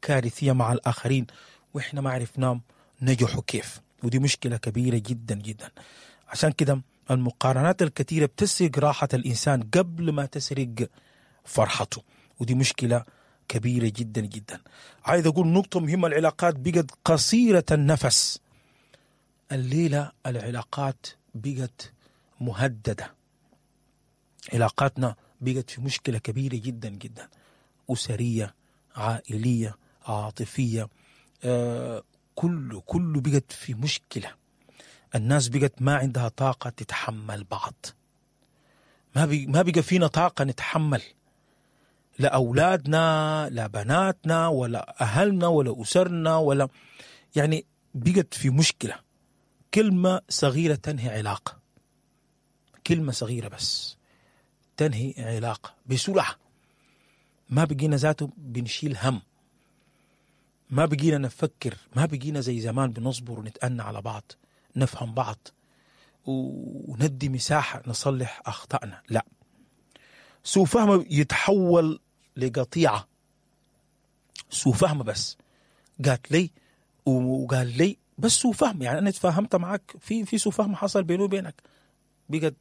كارثية مع الآخرين وإحنا ما عرفناهم نجحوا كيف، ودي مشكلة كبيرة جدا جدا. عشان كده المقارنات الكثيرة بتسرق راحة الإنسان قبل ما تسرق فرحته، ودي مشكلة كبيرة جدا جدا. عايز أقول نقطة مهمة، العلاقات بقت قصيرة النفس. الليلة العلاقات بقت مهددة، علاقاتنا بقت في مشكلة كبيرة جدا جدا، أسرية، عائلية، عاطفية، كله بقت في مشكلة. الناس بقت ما عندها طاقة تتحمل بعض، ما بقى فينا طاقة نتحمل، لا أولادنا لا بناتنا ولا أهلنا ولا أسرنا ولا، يعني بقت في مشكلة. كلمة صغيرة تنهي علاقة، كلمة صغيرة بس تنهي علاقة بسرعة. ما بقينا ذاته بنشيل هم، ما بقينا نفكر، ما بقينا زي زمان بنصبر ونتأنى على بعض، نفهم بعض وندي مساحة نصلح أخطائنا. لا، سوء فهم يتحول لقطيعة. سوء فهم بس، قالت لي وقال لي بس سوء فهم، يعني أنا اتفاهمت معك في سوء فهم حصل بيني وبينك، بقت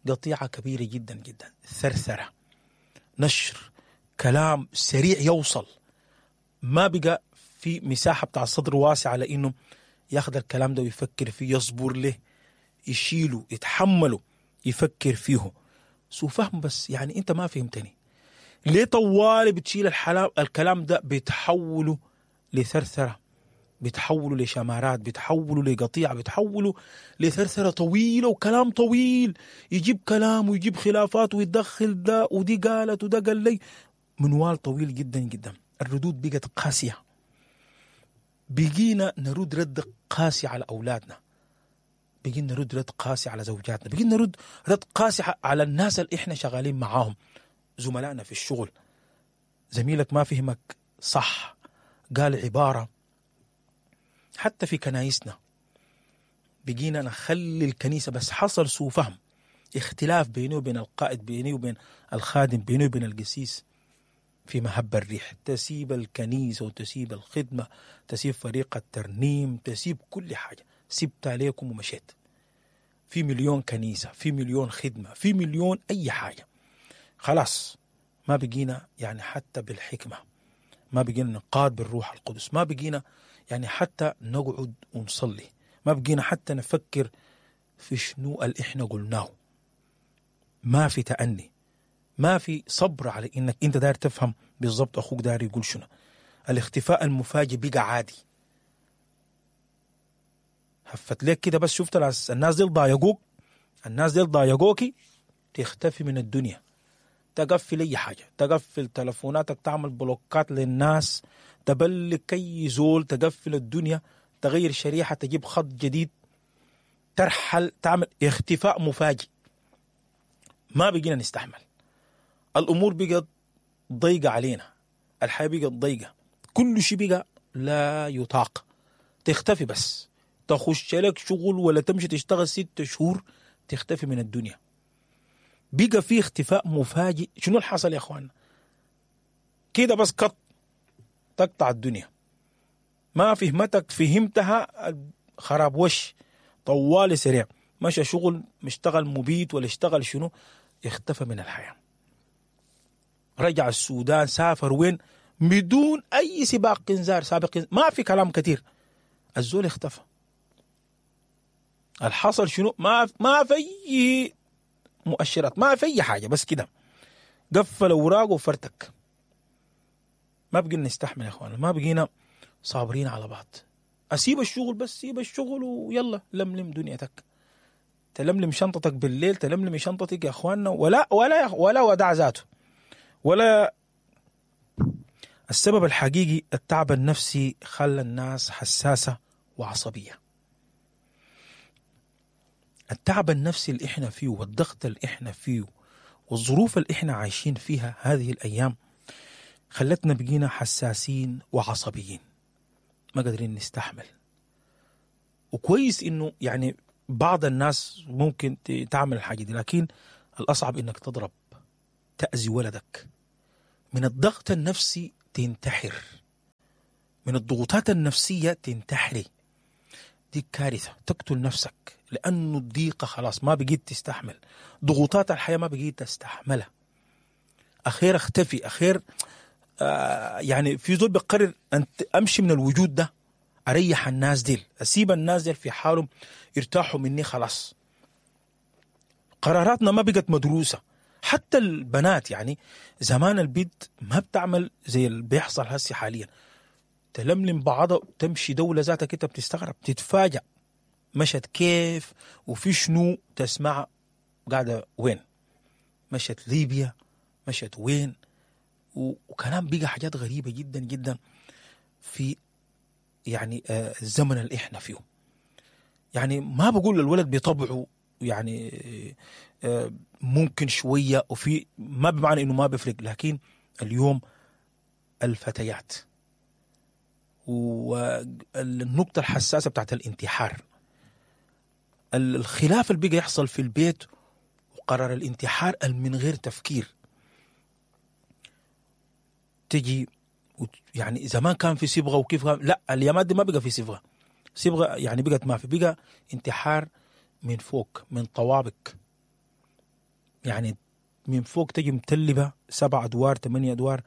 قطيعة كبيرة جدا جدا. ثرثرة، نشر كلام سريع يوصل، ما بقى في مساحة بتاع الصدر واسع على إنه ياخذ الكلام ده ويفكر فيه، يصبر له، يشيله، يتحمله، يفكر فيه. سوء فهم بس، يعني أنت ما فهمتني ليه طوالي بتشيل الكلام ده، بتحوله لثرثرة، بتحوله لشمارات، بتحوله لقطيعة، بتحوله لثرثرة طويلة وكلام طويل، يجيب كلام ويجيب خلافات ويدخل ده ودي قالت وده قال لي، منوال طويل جدا جدا. الردود بقت قاسية، بقينا نرد رد قاسي على أولادنا، بقينا نرد رد قاسي على زوجاتنا، بقينا نرد رد قاسي على الناس اللي احنا شغالين معاهم، زملائنا في الشغل. زميلك ما فهمك صح، قال عبارة. حتى في كنايسنا بقينا نخلي الكنيسة بس حصل سوء فهم، اختلاف بيني وبين القائد، بيني وبين الخادم، بيني وبين القسيس، في مهب الريح تسيب الكنيسة وتسيب الخدمة، تسيب فريق الترنيم، تسيب كل حاجة، سبت عليكم ومشيت. في مليون كنيسة، في مليون خدمة، في مليون أي حاجة. خلاص ما بقينا يعني حتى بالحكمة، ما بقينا نقاد بالروح القدس، ما بقينا يعني حتى نقعد ونصلي، ما بقينا حتى نفكر في شنو اللي احنا قلناه. ما في تأني، ما في صبر على انك انت داير تفهم بالضبط اخوك داير يقول شنو. الاختفاء المفاجئ بقى عادي. هفت لك كده بس، شفت الناس دي ضايقوك، الناس دي ضايقوكي، تختفي من الدنيا، تقفل اي حاجه، تقفل تلفوناتك، تعمل بلوكات للناس، تبلك اي زول، تقفل الدنيا، تغير شريحه، تجيب خط جديد، ترحل، تعمل اختفاء مفاجئ. ما بقينا نستحمل، الامور بقت ضيقه علينا، الحياه بقت ضيقه، كل شيء بقى لا يطاق. تختفي بس، تخش لك شغل ولا تمشي تشتغل 6 شهور، تختفي من الدنيا. بقى في اختفاء مفاجئ. شنو اللي حصل يا اخوانا؟ كده بس قط تقطع الدنيا، ما فهمتك فهمتها خراب وش، طوالي سريع، مشى شغل، مشتغل مبيت ولا اشتغل شنو، اختفى من الحياة. رجع السودان، سافر وين، بدون اي سباق انذار سابق، ما في كلام كثير، الزول اختفى. الحصل شنو؟ ما في مؤشرات، ما في اي حاجه، بس كده قفل اوراقه وفرتك. ما بقينا نستحمل يا اخوانا، ما بقينا صابرين على بعض. اسيب الشغل بس، سيب الشغل ويلا لملم دنيتك، تلملم شنطتك بالليل، تلملم شنطتك يا اخواننا، ولا ولا ولا وداع ذاته ولا. السبب الحقيقي التعب النفسي خلى الناس حساسة وعصبية. التعب النفسي اللي احنا فيه، والضغط اللي احنا فيه، والظروف اللي احنا عايشين فيها هذه الأيام، خلتنا بقينا حساسين وعصبيين، ما قادرين نستحمل. وكويس انه يعني بعض الناس ممكن تعمل الحاجة دي، لكن الأصعب انك تضرب، تأذي ولدك من الضغط النفسي، تنتحر. من الضغوطات النفسية تنتحري. دي كارثة، تقتل نفسك لأنه الضيقة خلاص ما بقيت تستحمل، ضغوطات الحياة ما بقيت تستحملها. أخير اختفي، أخير يعني في زول بقرر أن أمشي من الوجود ده، أريح الناس ديل، أسيب الناس ديل في حالهم يرتاحوا مني خلاص. قراراتنا ما بقت مدروسة. حتى البنات يعني زمان البنت ما بتعمل زي اللي بيحصل هسي حاليا، تلملم بعضها وتمشي دولة ذاتك انت بتستغرب تتفاجأ مشت كيف وفي شنو، تسمع قاعدة وين، مشت ليبيا، مشت وين، وكلام بقى حاجات غريبة جدا جدا في يعني الزمن اللي احنا فيه. يعني ما بقول الولد بطبعه يعني ممكن شوية وفي ما بمعنى انه ما بيفرق، لكن اليوم الفتيات والنقطة الحساسة بتاعت الانتحار، الخلاف اللي بقى يحصل في البيت وقرار الانتحار من غير تفكير تجي. يعني زمان كان في صبغة وكيف، لا اليامات دي ما بقى في صبغة، صبغة يعني بقت ما في، بقى انتحار من فوق، من طوابق، يعني من فوق تجي متلبة 7 أدوار 8 أدوار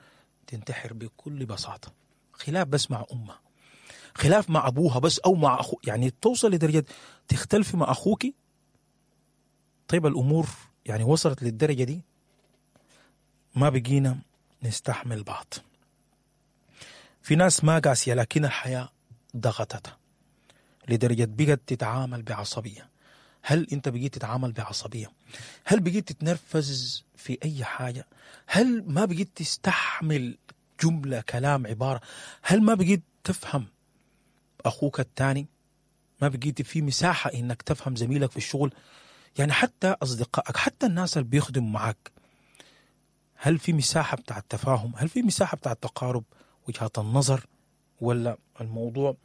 تنتحر بكل بساطة. خلاف بس مع أمها، خلاف مع أبوها بس أو مع أخو، يعني توصل لدرجة تختلف مع أخوك. طيب الأمور يعني وصلت للدرجة دي، ما بقينا نستحمل بعض. في ناس ما قاسية لكن الحياة ضغطتها لدرجة بقت تتعامل بعصبية. هل أنت بقيت تتعامل بعصبية؟ هل بقيت تتنرفز في أي حاجة؟ هل ما بقيت تستحمل جملة، كلام، عبارة؟ هل ما بقيت تفهم أخوك الثاني؟ ما بقيت في مساحة إنك تفهم زميلك في الشغل؟ يعني حتى أصدقائك، حتى الناس اللي بيخدموا معك، هل في مساحة بتاع التفاهم؟ هل في مساحة بتاع التقارب وجهات النظر؟ ولا الموضوع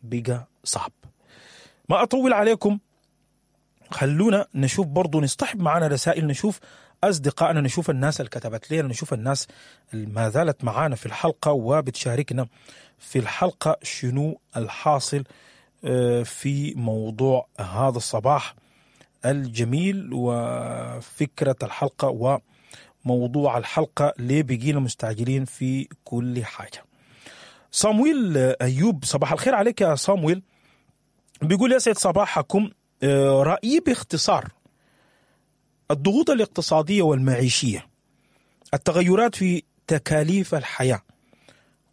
بقى صعب؟ ما أطول عليكم، خلونا نشوف برضو، نصطحب معنا رسائل، نشوف أصدقائنا، نشوف الناس اللي كتبت لنا، نشوف الناس اللي ما زالت معانا في الحلقة وبتشاركنا في الحلقة شنو الحاصل في موضوع هذا الصباح الجميل وفكرة الحلقة وموضوع الحلقة، ليه بقينا مستعجلين في كل حاجة. صامويل أيوب، صباح الخير عليك يا صامويل. بيقول يسعد صباحكم، رأيي باختصار: الضغوط الاقتصادية والمعيشية، التغيرات في تكاليف الحياة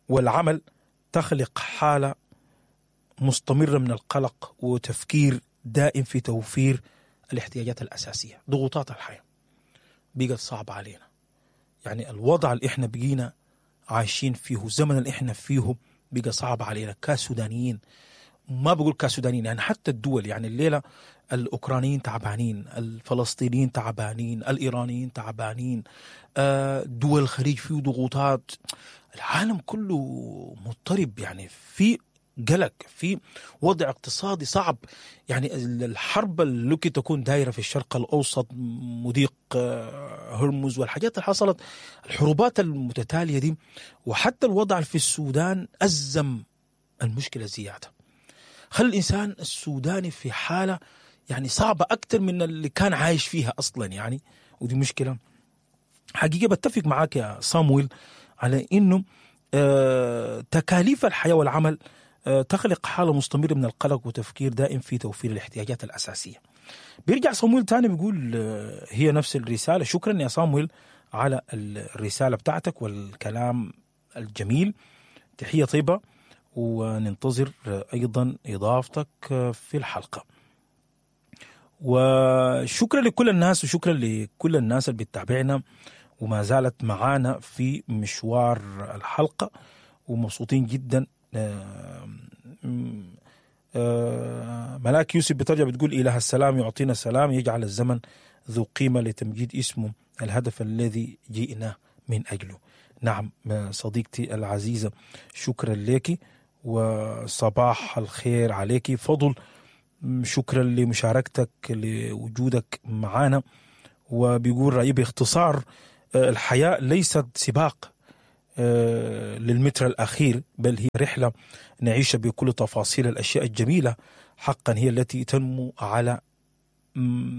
والعمل تخلق حالة مستمرة من القلق وتفكير دائم في توفير الاحتياجات الأساسية. ضغوطات الحياة بقت صعبة علينا، يعني الوضع اللي احنا بقينا عايشين فيه، الزمن اللي احنا فيه بقى صعب علينا كسودانيين. ما بقول كسودانيين، يعني حتى الدول، يعني الليلة الأوكرانيين تعبانين، الفلسطينيين تعبانين، الإيرانيين تعبانين، دول الخليج فيه ضغوطات، العالم كله مضطرب، يعني في قلق، في وضع اقتصادي صعب. يعني الحرب اللي تكون دايرة في الشرق الأوسط، مضيق هرمز والحاجات اللي حصلت، الحروبات المتتالية دي، وحتى الوضع في السودان أزم المشكلة زيادة، خلى الإنسان السوداني في حالة يعني صعبة أكثر من اللي كان عايش فيها أصلا يعني. ودي مشكلة حقيقة. بتفق معاك يا صامويل على إنه تكاليف الحياة والعمل تخلق حالة مستمرة من القلق وتفكير دائم في توفير الاحتياجات الأساسية. بيرجع صامويل تاني بيقول هي نفس الرسالة. شكرا يا صامويل على الرسالة بتاعتك والكلام الجميل، تحية طيبة، وننتظر أيضا إضافتك في الحلقة. وشكرا لكل الناس، وشكرا لكل الناس اللي بتتابعنا وما زالت معانا في مشوار الحلقة، ومبسوطين جدا. ملاك يوسف بترجع بتقول إله السلام يعطينا السلام، يجعل الزمن ذو قيمة لتمجيد اسمه، الهدف الذي جئنا من أجله. نعم صديقتي العزيزة، شكرا لك وصباح الخير عليك. فضل، شكرا لمشاركتك لوجودك معنا. وبيقول رأيي باختصار: الحياة ليست سباق، للمتر الأخير، بل هي رحلة نعيشها بكل تفاصيل الأشياء الجميلة حقا هي التي تنمو على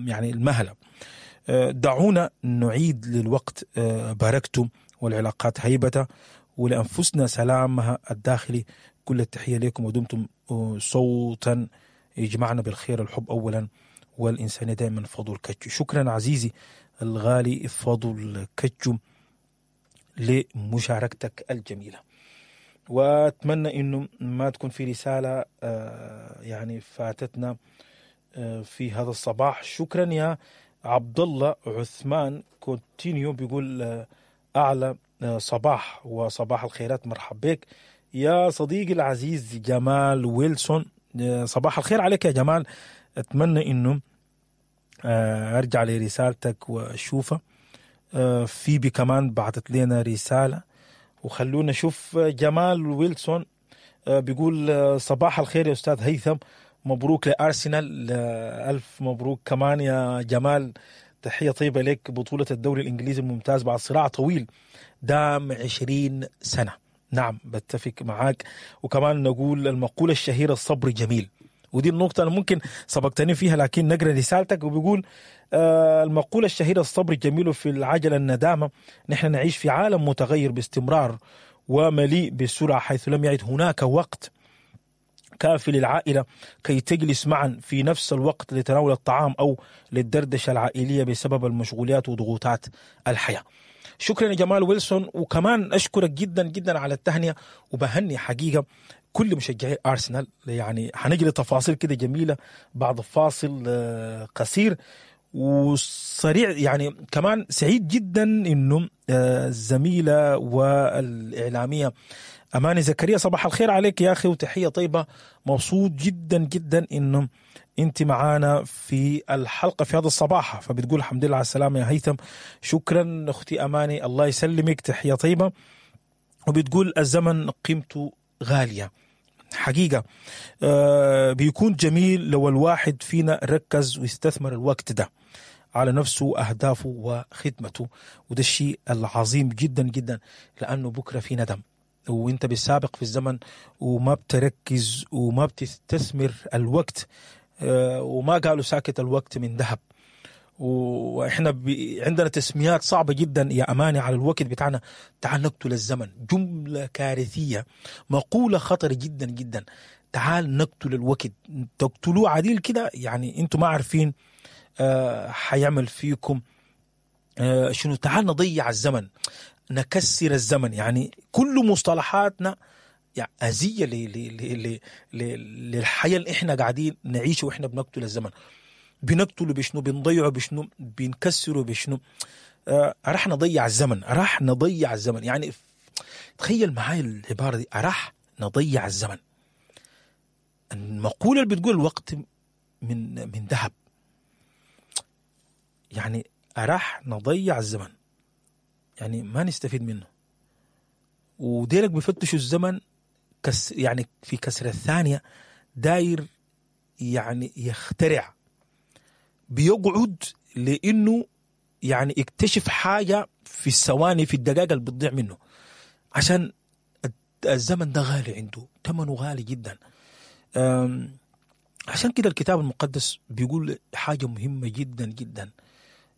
يعني المهلة. دعونا نعيد للوقت بركته والعلاقات هيبته ولأنفسنا سلامها الداخلي. كل التحية لكم ودمتم صوتا يجمعنا بالخير، الحب أولا والإنسانية دائما. فضل كتشو. شكرا عزيزي الغالي فضل كتشو لمشاركتك الجميلة، واتمنى انه ما تكون في رسالة يعني فاتتنا في هذا الصباح. شكرا يا عبد الله عثمان كونتينيو، بيقول اعلى صباح وصباح الخيرات، مرحب بك يا صديقي العزيز جمال ويلسون. صباح الخير عليك يا جمال، اتمنى انه ارجع لرسالتك واشوفها. فيبي كمان بعثت لنا رسالة، وخلونا نشوف جمال ويلسون بيقول صباح الخير يا أستاذ هيثم، مبروك لأرسنال. ألف مبروك كمان يا جمال، تحية طيبة لك. بطولة الدوري الإنجليزي الممتاز بعد صراع طويل دام 20 سنة. نعم بتفق معاك. وكمان نقول المقولة الشهيرة الصبر جميل، ودي النقطة اللي ممكن سبقتني فيها، لكن نقرأ رسالتك. وبيقول المقولة الشهيرة الصبر جميل في العجلة الندامة. نحن نعيش في عالم متغير باستمرار ومليء بالسرعة، حيث لم يعد هناك وقت كافي للعائلة كي تجلس معا في نفس الوقت لتناول الطعام أو للدردشة العائلية بسبب المشغوليات وضغوطات الحياة. شكرا يا جمال ويلسون، وكمان أشكرك جدا جدا على التهنئة، وبهني حقيقة كل مشجعي أرسنال. يعني هنجري تفاصيل كده جميلة بعد فاصل قصير وسريع. يعني كمان سعيد جدا إنه الزميلة والإعلامية أماني زكريا، صباح الخير عليك يا أخي وتحية طيبة. مبسوط جدا جدا إنه أنت معانا في الحلقة في هذا الصباح. فبتقول الحمد لله على السلامة يا هيثم. شكرا أختي أماني، الله يسلمك، تحية طيبة. وبتقول الزمن قيمته غالية حقيقة. بيكون جميل لو الواحد فينا ركز ويستثمر الوقت ده على نفسه وأهدافه وخدمته، وده الشيء العظيم جدا جدا، لأنه بكرة في ندم وانت بالسابق في الزمن وما بتركز وما بتستثمر الوقت. وما قالوا ساكت الوقت من ذهب. واحنا عندنا تسميات صعبة جدا يا أماني على الوقت بتاعنا. تعال نقتل الزمن، جملة كارثية، مقولة خطر جدا جدا. تعال نقتل الوقت، تقتلوه عديل كده، يعني انتم ما عارفين حيعمل فيكم شنو. تعال نضيع الزمن، نكسر الزمن. يعني كل مصطلحاتنا يعني أذية للحياة اللي احنا قاعدين نعيشه، واحنا بنقتل الزمن. بنقتله بشنو؟ بنضيعه بشنو؟ بنكسره بشنو؟ راح نضيع الزمن، راح نضيع الزمن. يعني تخيل معاي العبارة دي، راح نضيع الزمن. المقولة اللي بتقول الوقت من ذهب، يعني راح نضيع الزمن، يعني ما نستفيد منه. وديلك بيفتشوا الزمن يعني في كسر الثانية داير يعني يخترع، بيقعد لأنه يعني اكتشف حاجة في الثواني، في الدقائق اللي بتضيع منه، عشان الزمن ده غالي عنده، ثمنه غالي جدا. عشان كده الكتاب المقدس بيقول حاجة مهمة جدا جدا،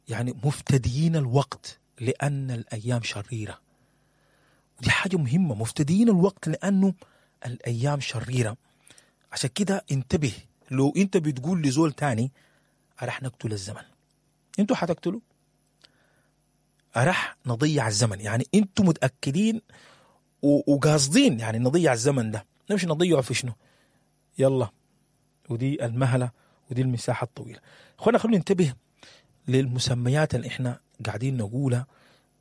يعني مفتديين الوقت لأن الأيام شريرة. ودي حاجة مهمة، مفتديين الوقت لأنه الأيام شريرة. عشان كده انتبه، لو انت بتقول لزول تاني راح نقتل الزمن، انتوا حتقتلوا، راح نضيع الزمن. يعني انتوا متأكدين وقاصدين يعني نضيع الزمن ده، نمشي نضيعه في شنو؟ يلا، ودي المهلة ودي المساحة الطويلة. اخوانا خلونا ننتبه للمسميات اللي احنا قاعدين نقولها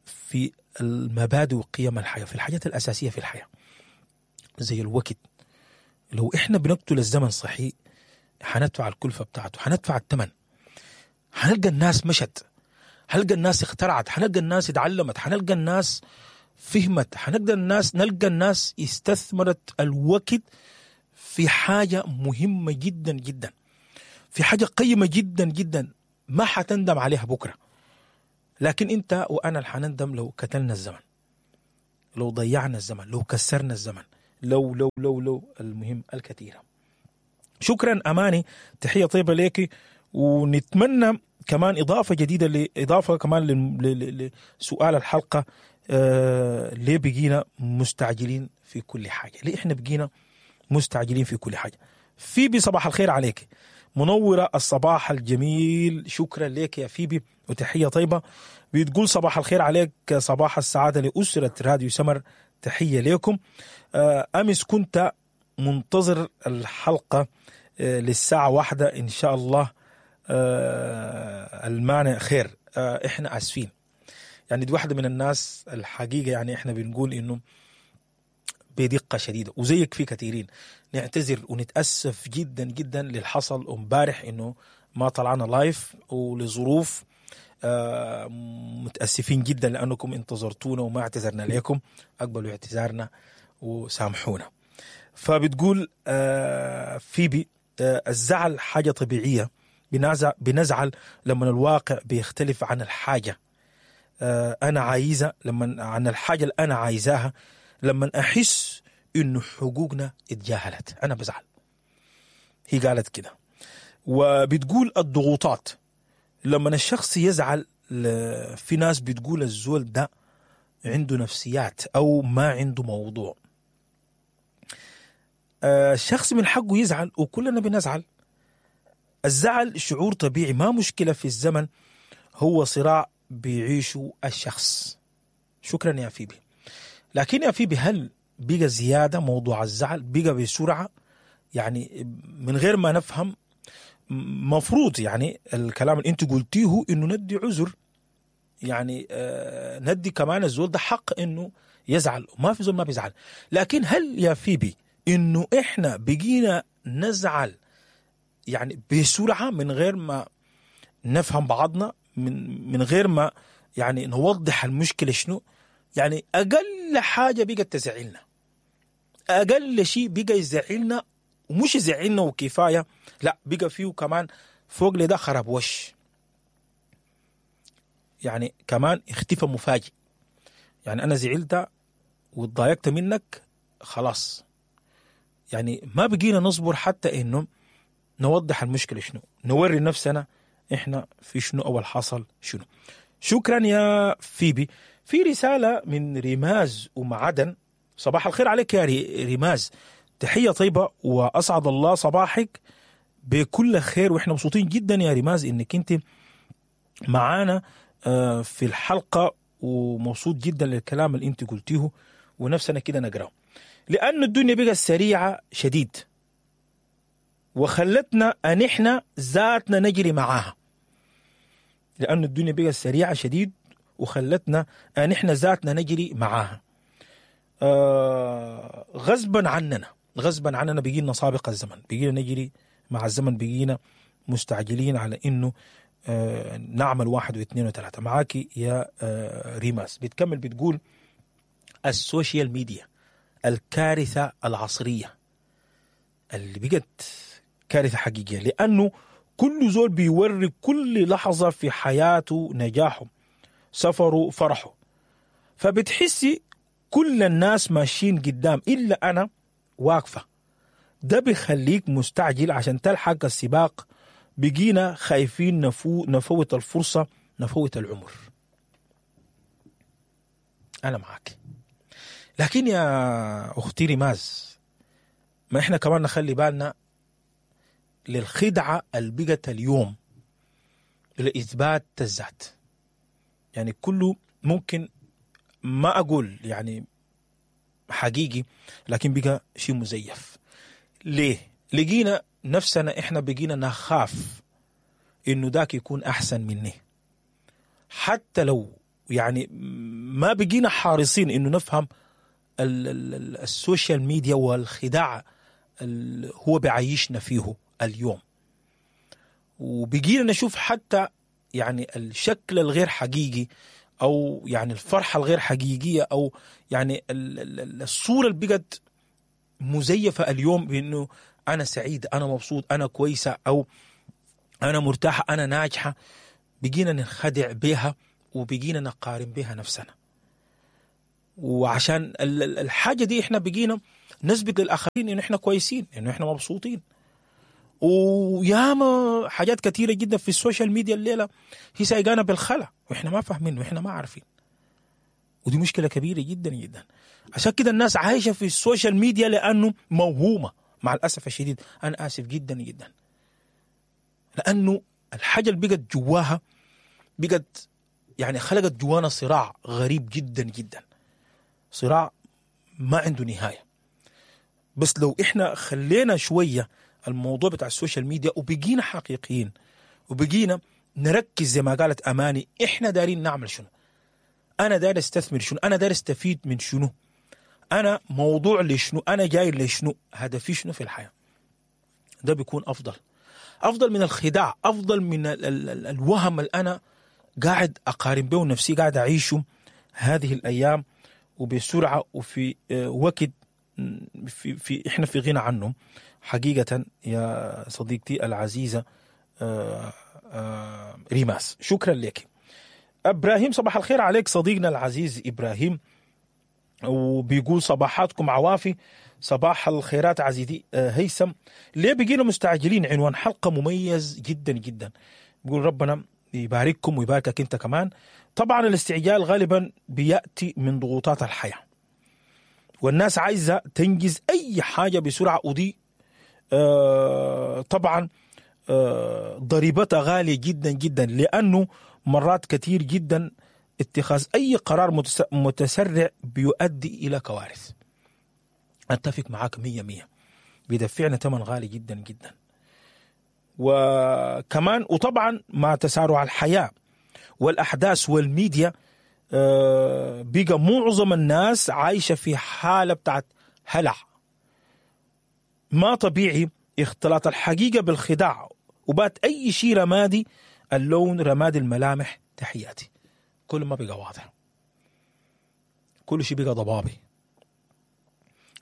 في المبادئ وقيم الحياة، في الحاجات الأساسية في الحياة زي الوقت. لو احنا بنقتل الزمن صحيح حندفع الكلفة بتاعته، حندفع الثمن. حنلقى الناس مشت، حنلقى الناس اخترعت، حنلقى الناس اتعلمت، حنلقى الناس فهمت، حنلقى الناس، نلقى الناس استثمرت الوقت في حاجة مهمة جدا جدا، في حاجة قيمة جدا جدا ما حتندم عليها بكرة. لكن انت وانا اللي حنندم لو قتلنا الزمن. لو ضيعنا الزمن، لو كسرنا الزمن، لو لو لو لو المهم الكثيرة. شكرا أماني، تحية طيبة لك، ونتمنى كمان إضافة جديدة، لإضافة كمان لسؤال الحلقة، ليه بقينا مستعجلين في كل حاجة؟ ليه إحنا بقينا مستعجلين في كل حاجة؟ فيبي صباح الخير عليك، منورة الصباح الجميل، شكرا لك يا فيبي وتحية طيبة. بتقول صباح الخير عليك، صباح السعادة لأسرة راديو سمر، تحية لكم. أمس كنت منتظر الحلقة للساعة 1 إن شاء الله، المانع خير. إحنا آسفين، يعني دي واحدة من الناس الحقيقة، يعني إحنا بنقول إنه بدقة شديدة وزيك في كثيرين نعتذر ونتأسف جدا جدا للحصل امبارح إنه ما طلعنا live ولظروف، متأسفين جدا لأنكم انتظرتونا وما اعتذرنا لكم، أقبلوا اعتذارنا وسامحونا. فبتقول فيبي الزعل حاجة طبيعية، بنزعل لما الواقع بيختلف عن الحاجة، أنا عايزة لما عن الحاجة اللي أنا عايزاها، لما أحس إنه حقوقنا اتجاهلت أنا بزعل. هي قالت كده. وبتقول الضغوطات، لما الشخص يزعل في ناس بتقول الزول ده عنده نفسيات أو ما عنده موضوع. الشخص من حقه يزعل وكلنا بنزعل. الزعل شعور طبيعي، ما مشكلة في الزمن، هو صراع بيعيشه الشخص. شكرا يا فيبي. لكن يا فيبي هل بقى زيادة موضوع الزعل؟ بقى بسرعة يعني من غير ما نفهم؟ مفروض يعني الكلام اللي انت قلتيه انه ندي عذر، يعني ندي كمان الزول ده حق انه يزعل، وما في زول ما بيزعل. لكن هل يا فيبي انه احنا بقينا نزعل يعني بسرعة من غير ما نفهم بعضنا، من غير ما يعني نوضح المشكلة شنو؟ يعني أقل حاجة بقت تزعلنا، أقل شيء بقى يزعلنا، ومش يزعلنا وكفاية، لا بقى فيه كمان فوق لده خراب وش، يعني كمان اختفى مفاجئ. يعني أنا زعلت واتضايقت منك خلاص، يعني ما بقينا نصبر حتى إنه نوضح المشكلة شنو، نوري نفسنا إحنا في شنو أول حصل شنو. شكرا يا فيبي. في رسالة من ريماز ومعدن. صباح الخير عليك يا ريماز، تحية طيبة وأسعد الله صباحك بكل خير، وإحنا مبسوطين جدا يا ريماز إنك أنت معانا في الحلقة، ومبسوط جدا للكلام اللي أنت قلتيه ونفسنا كده نقرأه، لأن الدنيا بقت سريعة شديد وخلتنا أن إحنا ذاتنا نجري معاها. لأن الدنيا بقت سريعة شديد وخلتنا أن إحنا ذاتنا نجري معاها. غصبا عننا، غصبا عننا بقينا سابق الزمن، بقينا نجري مع الزمن، بقينا مستعجلين على إنه نعمل 1 و2 و3. معاكي يا ريماس. بتكمل بتقول ال social media الكارثة العصرية اللي بقت كارثة حقيقية، لأنه كل زول بيوري كل لحظة في حياته نجاحه، سفره، فرحه، فبتحسي كل الناس ماشيين قدام إلا أنا واقفة. ده بيخليك مستعجل عشان تلحق السباق. بقينا خايفين نفوت الفرصة، نفوت العمر. أنا معك، لكن يا أختي ريماز ما إحنا كمان نخلي بالنا للخدعة اللي بقت اليوم لإثبات الذات. يعني كله ممكن، ما أقول يعني حقيقي، لكن بقى شيء مزيف. ليه؟ لقينا نفسنا إحنا بقينا نخاف إنه ذاك يكون أحسن مني، حتى لو يعني ما بقينا حارصين إنه نفهم ال social media والخداع اللي هو بعيشنا فيه اليوم. وبقينا نشوف حتى يعني الشكل الغير حقيقي، أو يعني الفرحة الغير حقيقية، أو يعني الصورة اللي بقت مزيفة اليوم بأنه أنا سعيد، أنا مبسوط، أنا كويسة، أو أنا مرتاحة، أنا ناجحة. بقينا نخدع بها وبقينا نقارن بها نفسنا. وعشان الحاجة دي احنا بقينا نثبت للاخرين انه احنا كويسين، انه احنا مبسوطين. وياما حاجات كثيرة جدا في ال social media الليلة هي سايقانا بالخلا، واحنا ما فاهمين واحنا ما عارفين. ودي مشكلة كبيرة جدا جدا. عشان كده الناس عايشه في ال social media لانه موهومه مع الاسف الشديد. انا اسف جدا جدا، لانه الحاجة اللي بقت جواها بقت يعني خلقت جوانا صراع غريب جدا جدا، صراع ما عنده نهاية. بس لو احنا خلينا شوية الموضوع بتاع ال social media وبقينا حقيقيين وبقينا نركز زي ما قالت اماني، احنا دارين نعمل شنو، انا داير استثمر شنو، انا داير استفيد من شنو، انا موضوع لشنو، انا جاي لشنو، هدفي شنو في الحياة. ده بيكون افضل، افضل من الخداع، افضل من ال ال ال الوهم اللي انا قاعد اقارن به نفسي، قاعد اعيشه هذه الايام وبسرعة وفي وقت في احنا في غنى عنه حقيقة. يا صديقتي العزيزة ريماس، شكرا لك. ابراهيم صباح الخير عليك صديقنا العزيز ابراهيم، وبيقول صباحاتكم عوافي، صباح الخيرات عزيزي هيثم. ليه بقينا مستعجلين؟ عنوان حلقة مميز جدا جدا. بيقول ربنا يبارككم ويباركك انت كمان. طبعا الاستعجال غالبا بياتي من ضغوطات الحياة، والناس عايزه تنجز اي حاجة بسرعة، ودي طبعا ضريبتها غالية جدا جدا، لانه مرات كثير جدا اتخاذ اي قرار متسرع بيؤدي الى كوارث. اتفق معاك 100%، بيدفعنا ثمن غالي جدا جدا. وكمان وطبعا مع تسارع الحياة والاحداث والميديا، بقى معظم الناس عايشه في حاله بتاعت هلع ما طبيعي، اختلاط الحقيقة بالخداع، وبات اي شيء رمادي اللون، رمادي الملامح. تحياتي. كل ما بقى واضح، كل شيء بقى ضبابي،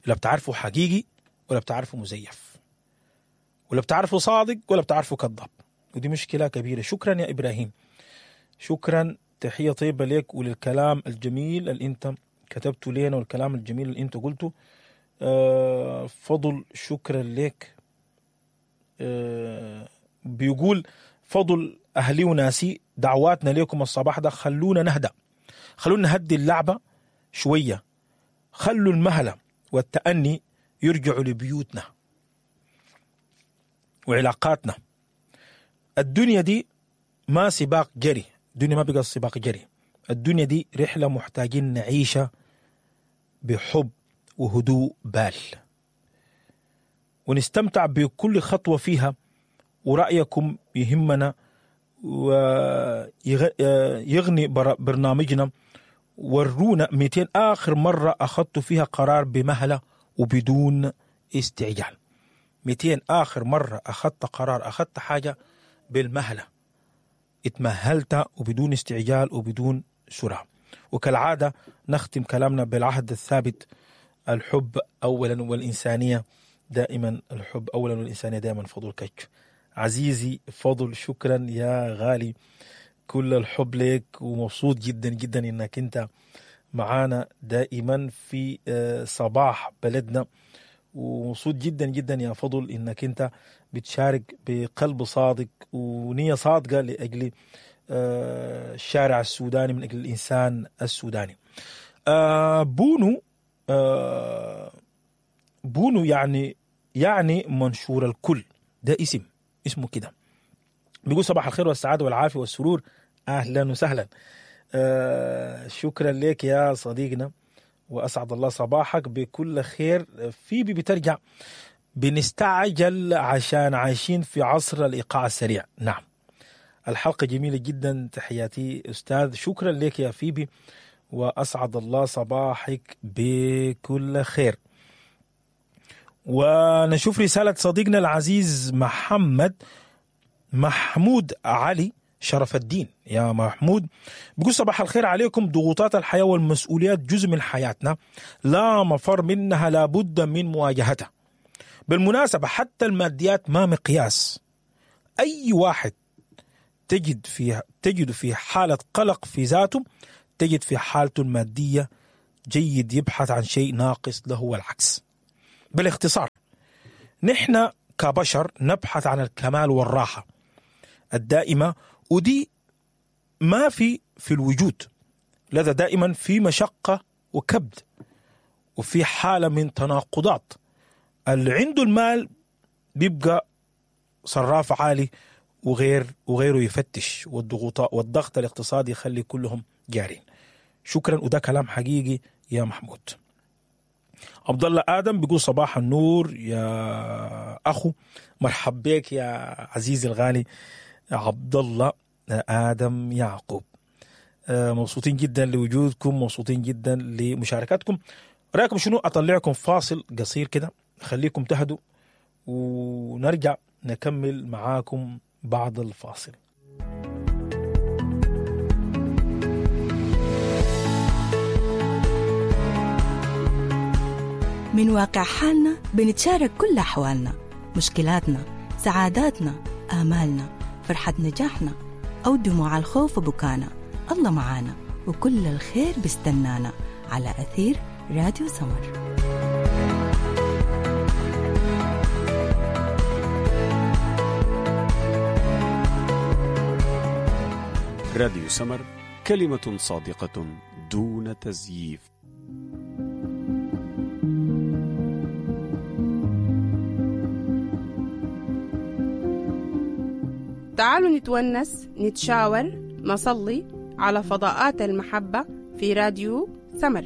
لا بتعرفه حقيقي ولا بتعرفه مزيف، ولا بتعرفه صادق ولا بتعرفه كذاب، ودي مشكلة كبيرة. شكرا يا إبراهيم، شكرا، تحية طيبة لك وللكلام الجميل اللي انت كتبته لنا والكلام الجميل اللي انت قلته. فضل شكرا لك. بيقول فضل أهلي وناسي، دعواتنا لكم الصباح ده، خلونا نهدأ، خلونا نهدي اللعبة شوية، خلوا المهلة والتأني يرجعوا لبيوتنا وعلاقاتنا. الدنيا دي ما سباق جري، الدنيا ما بقى سباق جري، الدنيا دي رحلة محتاجين نعيشها بحب وهدوء بال، ونستمتع بكل خطوة فيها، ورأيكم يهمنا ويغني برنامجنا. ورونا 200 آخر مرة أخذت فيها قرار بمهلة وبدون استعجال. 200 آخر مرة أخذت قرار، أخذت حاجة بالمهلة، اتمهلت وبدون استعجال وبدون سرعة. وكالعادة نختم كلامنا بالعهد الثابت: الحب أولا والإنسانية دائما، الحب أولا والإنسانية دائما. فضل كتش عزيزي فضل، شكرا يا غالي، كل الحب لك، ومبسوط جدا جدا انك انت معانا دائما في صباح بلدنا، ومبسوط جدا جدا يا فضل انك انت بتشارك بقلب صادق ونية صادقة لأجل الشارع السوداني، من أجل الإنسان السوداني. بونو، بونو يعني منشور الكل، ده اسم، اسمه كده. بيقول صباح الخير والسعادة والعافية والسرور، أهلا وسهلا. شكرا لك يا صديقنا، وأسعد الله صباحك بكل خير. في بترجع بنستعجل عشان عايشين في عصر الإيقاع السريع. نعم، الحلقة جميلة جدا، تحياتي أستاذ. شكرا لك يا فيبي، وأسعد الله صباحك بكل خير. ونشوف رسالة صديقنا العزيز محمد محمود علي شرف الدين. يا محمود، بيقول صباح الخير عليكم. ضغوطات الحياة والمسؤوليات جزء من حياتنا، لا مفر منها، لابد من مواجهتها. بالمناسبة حتى الماديات ما مقياس، أي واحد تجد في حالة قلق في ذاته تجد في حالته المادية جيد يبحث عن شيء ناقص له والعكس. بالاختصار، نحن كبشر نبحث عن الكمال والراحة الدائمة، ودي ما في الوجود، لذا دائما في مشقة وكبد وفي حالة من تناقضات. اللي عنده المال بيبقى صراف عالي وغيره يفتش، والضغط الاقتصادي يخلي كلهم جارين. شكرا، وده كلام حقيقي يا محمود. عبد الله آدم بيقول صباح النور يا أخو، مرحب بك يا عزيزي الغالي عبد الله آدم يعقوب. مبسوطين جدا لوجودكم، مبسوطين جدا لمشاركاتكم. رأيكم شنو؟ أطلعكم فاصل قصير كده، خليكم تهدوا ونرجع نكمل معاكم بعد الفاصل. من واقع حالنا بنتشارك كل أحوالنا، مشكلاتنا، سعاداتنا، آمالنا، فرحة نجاحنا أو دموع الخوف وبكانا. الله معانا وكل الخير بيستنانا على أثير راديو سمر. راديو سمر، كلمة صادقة دون تزييف. تعالوا نتونس، نتشاور، نصلي على فضاءات المحبة في راديو سمر.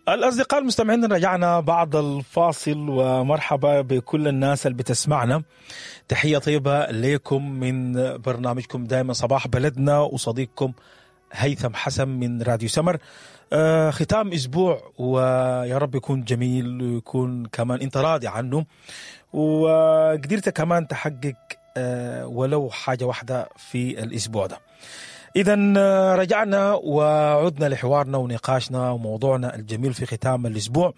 الأصدقاء المستمعين، رجعنا بعد الفاصل، ومرحبا بكل الناس اللي بتسمعنا. تحية طيبة لكم من برنامجكم دائما صباح بلدنا، وصديقكم هيثم حسن من راديو سمر. ختام أسبوع، ويا رب يكون جميل ويكون كمان أنت راضي عنه، وقدرت كمان تحقق ولو حاجة واحدة في الأسبوع ده. إذا رجعنا وعدنا لحوارنا ونقاشنا وموضوعنا الجميل في ختام الأسبوع.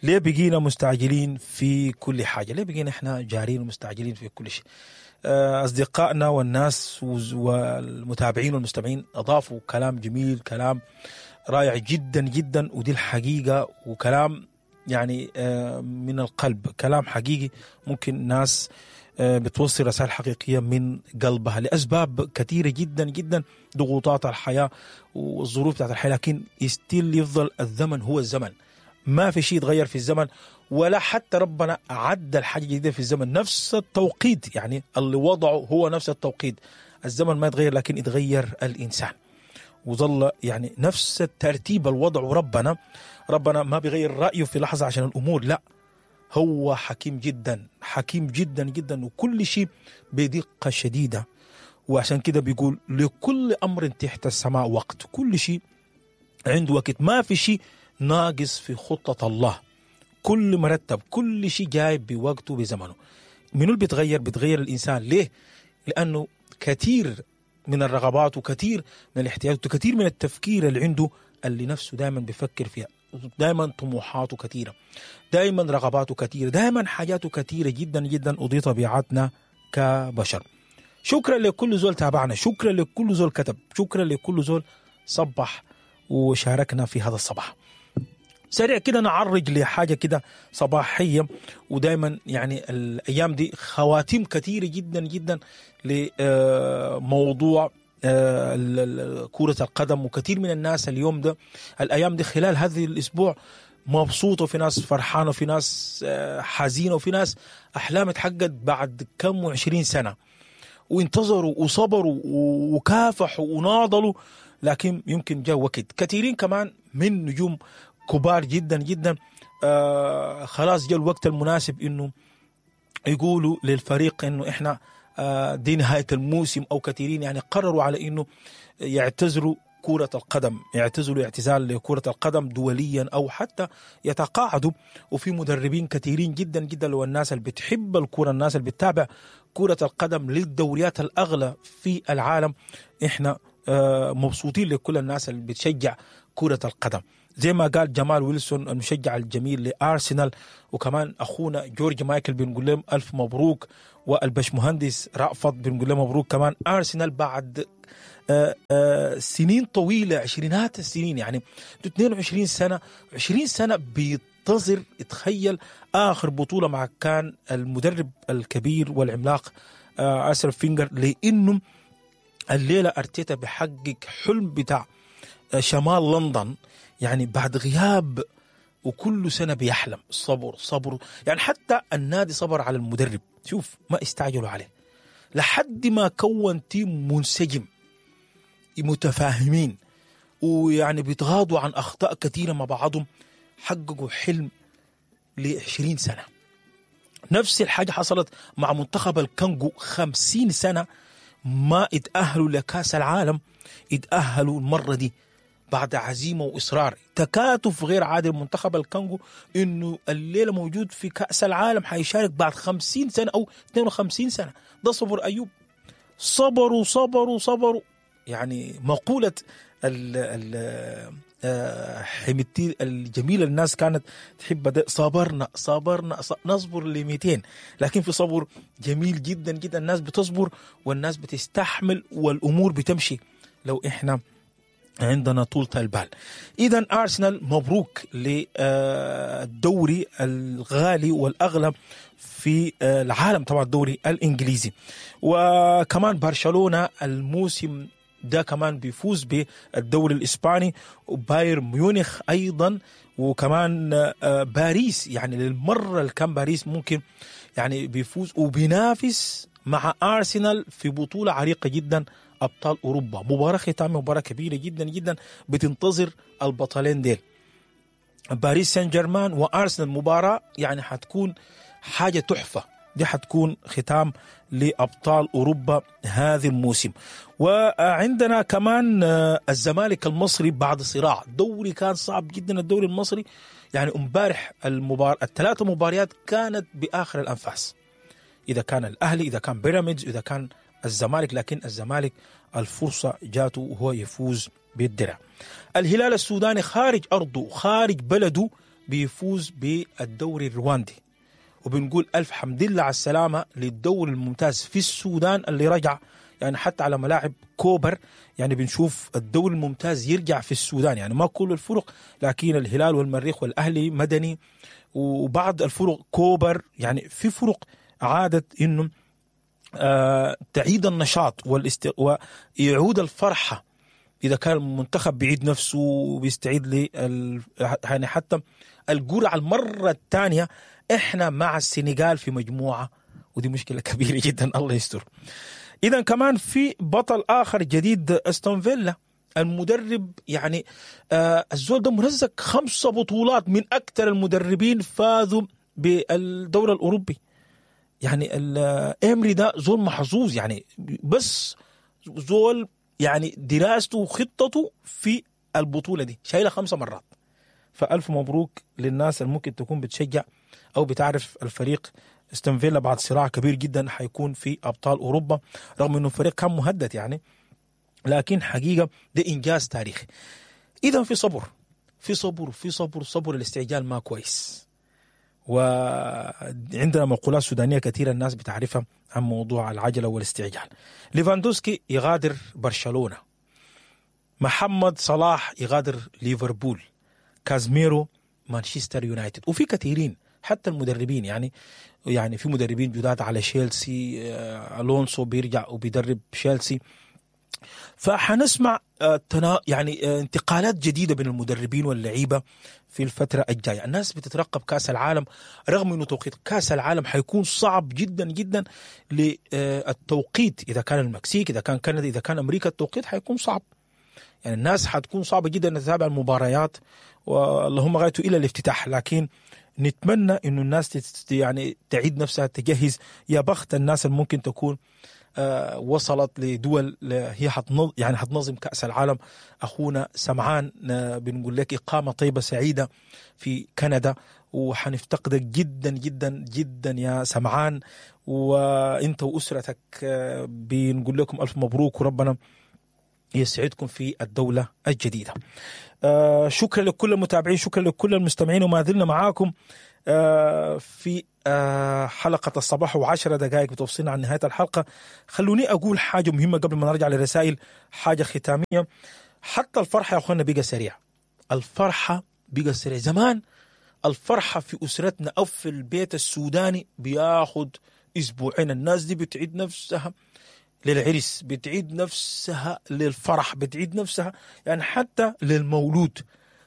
ليه بقينا مستعجلين في كل حاجة؟ ليه بقينا إحنا جارين ومستعجلين في كل شيء؟ أصدقائنا والناس والمتابعين والمستمعين أضافوا كلام جميل، كلام رائع جدا جدا، ودي الحقيقة، وكلام يعني من القلب، كلام حقيقي. ممكن ناس بتوصل رسائل حقيقية من قلبها لأسباب كثيرة جدا جدا، ضغوطات الحياة والظروف بتاعت الحياة، لكن يستيل يفضل الزمن هو الزمن، ما في شيء يتغير في الزمن، ولا حتى ربنا عدل حاجة جديدة في الزمن. نفس التوقيت يعني اللي وضعه هو نفس التوقيت، الزمن ما يتغير لكن يتغير الإنسان، وظل يعني نفس الترتيب الوضع. وربنا ربنا ما بيغير رأيه في لحظة عشان الأمور، لا، هو حكيم جدا، حكيم جدا جدا، وكل شيء بدقة شديدة. وعشان كده بيقول لكل أمر تحت السماء وقت، كل شيء عنده وقت، ما في شيء ناقص في خطة الله، كل مرتب، كل شيء جاي بوقته بزمنه. منو اللي بيتغير؟ بيتغير الإنسان. ليه؟ لأنه كثير من الرغبات وكثير من الاحتياجات وكثير من التفكير اللي عنده، اللي نفسه دائما بيفكر فيها، دائما طموحاته كثيرة، دائما رغباته كثيرة، دائما حاجاته كثيرة جدا جدا، ودي طبيعتنا كبشر. شكرا لكل زول تابعنا، شكرا لكل زول كتب، شكرا لكل زول صبح وشاركنا في هذا الصباح. سريع كده نعرج لحاجة كده صباحية، ودايما يعني الأيام دي خواتيم كثيرة جدا جدا لموضوع كرة القدم، وكثير من الناس اليوم ده الأيام دي خلال هذا الأسبوع مبسوطة، وفي ناس فرحانة، وفي ناس حزينة، وفي ناس أحلام اتحققت بعد كم وعشرين سنة، وانتظروا وصبروا وكافحوا وناضلوا، لكن يمكن جاء وقت. كثيرين كمان من نجوم كبار جدا جدا خلاص جاء الوقت المناسب إنه يقولوا للفريق إنه إحنا دي نهاية الموسم، أو كثيرين يعني قرروا على إنه يعتزلوا كرة القدم، يعتزلوا اعتزال لكرة القدم دوليا أو حتى يتقاعدوا. وفي مدربين كثيرين جدا جدا، لو الناس اللي بتحب الكرة، الناس اللي بتتابع كرة القدم للدوريات الأغلى في العالم، إحنا مبسوطين لكل الناس اللي بتشجع كرة القدم. زي ما قال جمال ويلسون المشجع الجميل لارسنال، وكمان اخونا جورج مايكل بنقول لهم الف مبروك، والبشمهندس رأفت بنقول له مبروك كمان. ارسنال بعد سنين طويلة، عشرينات السنين، يعني 22 سنة، 20 سنة بينتظر، تخيل اخر بطوله مع كان المدرب الكبير والعملاق ارسنال فينجر، لانه الليلة ارتيتا بيحقق حلم بتاع شمال لندن، يعني بعد غياب وكل سنة بيحلم. صبر صبر، يعني حتى النادي صبر على المدرب، شوف ما استعجلوا عليه لحد ما كون team منسجم متفاهمين، ويعني بيتغاضوا عن اخطاء كثيرة مع بعضهم، حققوا حلم ل 20 سنة. نفس الحاجة حصلت مع منتخب الكونغو، 50 سنة ما اتأهلوا لكاس العالم، اتأهلوا المرة دي بعد عزيمة وإصرار، تكاتف غير عادي. منتخب الكونغو إنه الليلة موجود في كأس العالم، حيشارك بعد 50 سنة أو 52 سنة. ده صبر أيوب، صبروا صبروا صبروا. يعني مقولة حميدتي الجميلة الناس كانت تحب ده، صبرنا صبرنا نصبر ل 200، لكن في صبر جميل جدا جدا، الناس بتصبر والناس بتستحمل والأمور بتمشي لو إحنا عندنا طولة البال. إذا أرسنال مبروك للدوري الغالي والأغلى في العالم، طبعا الدوري الإنجليزي. وكمان برشلونة الموسم ده كمان بيفوز بالدوري الإسباني، وبايرن ميونخ أيضا، وكمان باريس، يعني للمرة الكام باريس ممكن يعني بيفوز وبينافس مع أرسنال في بطولة عريقة جدا، أبطال أوروبا. مباراة ختامية، مباراة كبيرة جدا جدا بتنتظر البطلين ديل، باريس سان جيرمان وأرسنال. مباراة يعني حتكون حاجة تحفة، دي حتكون ختام لأبطال أوروبا هذا الموسم. وعندنا كمان الزمالك المصري بعد صراع دوري كان صعب جدا، الدوري المصري يعني امبارح الثلاثة مباريات كانت بآخر الأنفاس، إذا كان الأهلي، إذا كان بيراميدز، إذا كان الزمالك، لكن الزمالك الفرصة جاته وهو يفوز بالدرع. الهلال السوداني خارج أرضه خارج بلده بيفوز بالدوري الرواندي، وبنقول ألف حمد لله على السلامة للدوري الممتاز في السودان اللي رجع، يعني حتى على ملاعب كوبر، يعني بنشوف الدوري الممتاز يرجع في السودان، يعني ما كل الفرق، لكن الهلال والمريخ والأهلي مدني وبعض الفرق كوبر، يعني في فرق عادت إنه تعيد النشاط ويعود الفرحة. إذا كان المنتخب بيعيد نفسه وبيستعيد يعني حتى الجرعة المرة الثانية. إحنا مع السنغال في مجموعة، ودي مشكلة كبيرة جدا، الله يستر. إذا كمان في بطل آخر جديد، أستون فيلا، المدرب يعني الزول ده مرزق 5 بطولات، من أكثر المدربين فازوا بالدوري الأوروبي. يعني إيمري ده زول محظوظ، يعني بس زول يعني دراسته وخطته في البطولة دي شايلة 5 مرات. فألف مبروك للناس اللي ممكن تكون بتشجع أو بتعرف الفريق استون فيلا بعد صراع كبير جدا حيكون في أبطال أوروبا، رغم أنه الفريق كان مهدد يعني، لكن حقيقة ده إنجاز تاريخي. إذا في صبر، في صبر، في صبر، صبر، الاستعجال ما كويس. وعندنا مقولات سودانية كثيرة الناس بتعرفها عن موضوع العجلة والاستعجال. ليفاندوسكي يغادر برشلونة، محمد صلاح يغادر ليفربول، كازميرو مانشستر يونايتد، وفي كثيرين حتى المدربين، يعني في مدربين جداد على شيلسي، ألونسو بيرجع وبيدرب شيلسي. فحنسمع يعني انتقالات جديدة بين المدربين واللعيبة في الفترة الجاية. الناس بتترقب كأس العالم، رغم أنه توقيت كأس العالم حيكون صعب جدا جدا للتوقيت، إذا كان المكسيك، إذا كان كندا، إذا كان أمريكا، التوقيت حيكون صعب. يعني الناس حتكون صعبة جدا تتابع المباريات، واللهم غايته إلى الافتتاح، لكن نتمنى إنه الناس يعني تعيد نفسها، تجهز. يا بخت الناس اللي ممكن تكون وصلت لدول هي يعني حتنظم كأس العالم. أخونا سمعان بنقول لك إقامة طيبة سعيدة في كندا، وحنفتقدك جدا جدا جدا يا سمعان، وإنت وأسرتك بنقول لكم ألف مبروك، وربنا يسعدكم في الدولة الجديدة. شكرا لكل المتابعين، شكرا لكل المستمعين، وما زلنا معاكم في حلقة الصباح، و10 دقائق بتوصلنا عن نهاية الحلقة. خلوني أقول حاجة مهمة قبل ما نرجع للرسائل، حاجة ختامية. حتى الفرحة يا أخوانا بقى سريع، الفرحة بقى سريع. زمان الفرحة في أسرتنا أو في البيت السوداني بياخد أسبوعين، الناس دي بتعيد نفسها للعرس، بتعيد نفسها للفرح، بتعيد نفسها يعني حتى للمولود،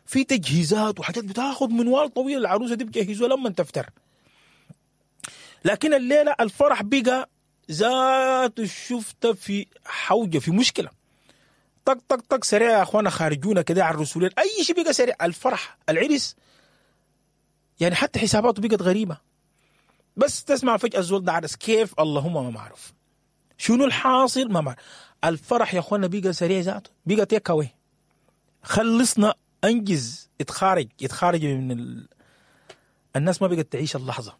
في تجهيزات وحاجات بتاخد منوال طويل، العروسة دي بتجهزوها لما تفتر. لكن الليلة الفرح بقى ذاته شفت في حوجه، في مشكله، طق طق طق، سريع يا اخوانا، خارجونا كده على الرسولين، اي شيء بقى سريع. الفرح، العرس، يعني حتى حساباته بقت غريبه. بس تسمع فجاة الزول ده عرس، كيف؟ اللهم ما معروف شنو الحاصل، ما معروف. الفرح يا اخوانا بقى سريع ذاته، بقى take away، خلصنا، انجز، اتخارج اتخارج من الناس. ما بقت تعيش اللحظه.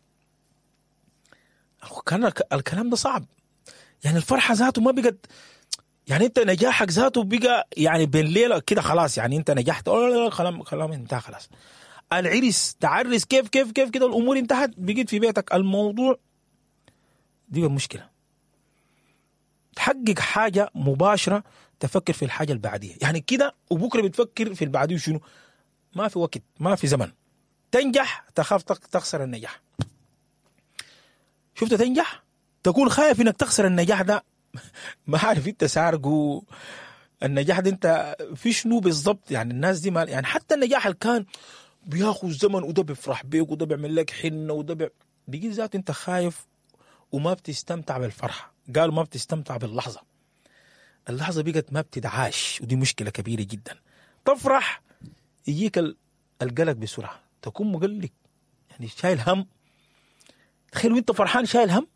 كان الكلام ده صعب، يعني الفرحة ذاته ما بقت، يعني انت نجاحك ذاته بقى يعني بين ليلة كده خلاص، يعني انت نجحت، كلام كلام انتهى خلاص. العرس، تعرس كيف كيف كيف كده، الامور انتهت، بقيت في بيتك. الموضوع دي المشكله، تحقق حاجة مباشره، تفكر في الحاجة اللي بعديها، يعني كده، وبكره بتفكر في اللي بعديه شنو. ما في وقت، ما في زمن. تنجح تخاف تخسر النجاح. شفت؟ تنجح تكون خايف انك تخسر النجاح ده، ما عارف انت سارقه النجاح ده، انت في شنو بالضبط؟ يعني الناس دي ما يعني حتى النجاح اللي كان بياخذ زمن، وده بيفرح بيك، وده بيعمل لك حنه، وده بيجي ذاته انت خايف وما بتستمتع بالفرحه. قالوا ما بتستمتع باللحظه، اللحظة بقت ما بتدعاش، ودي مشكلة كبيرة جدا. تفرح يجيك القلق بسرعه، تكون مقلق، يعني شايل هم. تخيل وانت فرحان شايل هم،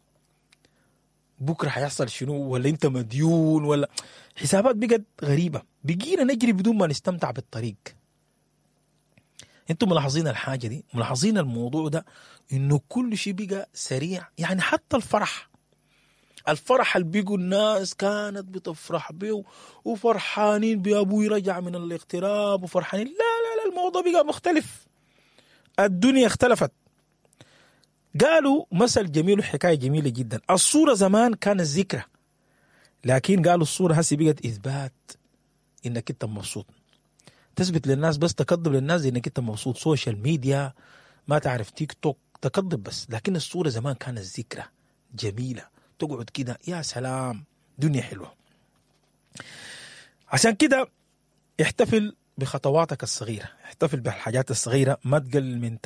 بكره حيحصل شنو، ولا انت مديون، ولا حسابات بقت غريبه. بقينا نجري بدون ما نستمتع بالطريق. انتم ملاحظين الحاجة دي؟ ملاحظين الموضوع ده، انه كل شيء بقى سريع؟ يعني حتى الفرح، الفرح اللي بيقوا الناس كانت بتفرح به وفرحانين بأبوي رجع من الاغتراب وفرحانين، لا لا لا، الموضوع بقى مختلف، الدنيا اختلفت. قالوا مثل جميل وحكاية جميلة جدا، الصورة زمان كانت ذكرى، لكن قالوا الصورة هسي بقت إثبات إنك أنت مبسوط، تثبت للناس بس، تكذب للناس إنك أنت مبسوط. social media، ما تعرف، تيك توك، تكذب بس. لكن الصورة زمان كانت ذكرى جميلة، تقعد كده، يا سلام، دنيا حلوة. عشان كده احتفل بخطواتك الصغيرة، احتفل بالحاجات الصغيرة، ما تقلل من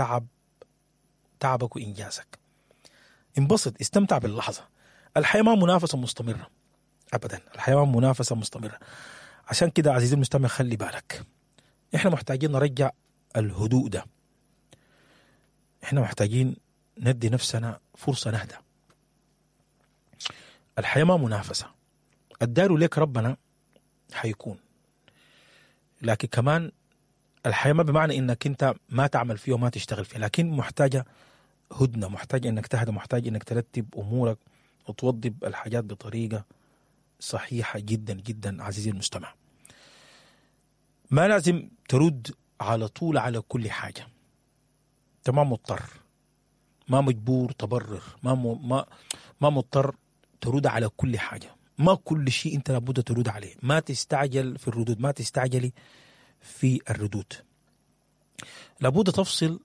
تعبك وإنجازك. انبسط، استمتع باللحظة. الحياة ما منافسة مستمرة أبدا، الحياة ما منافسة مستمرة. عشان كده عزيزي المستمع خلي بالك، احنا محتاجين نرجع الهدوء ده، احنا محتاجين ندي نفسنا فرصة نهدى. الحياة ما منافسة. الدايرو ليك ربنا حيكون، لكن كمان الحياة ما بمعنى انك انت ما تعمل فيها وما تشتغل فيها، لكن محتاجة هدنة، محتاج انك تهدى، محتاج انك ترتب امورك وتوضب الحاجات بطريقة صحيحة جدا جدا. عزيزي المستمع، ما لازم ترد على طول على كل حاجة. انت ما مضطر، ما مجبور تبرر، ما مضطر ترد على كل حاجة. ما كل شيء انت لابد ترد عليه. ما تستعجل في الردود، ما تستعجلي في الردود. لابد تفصل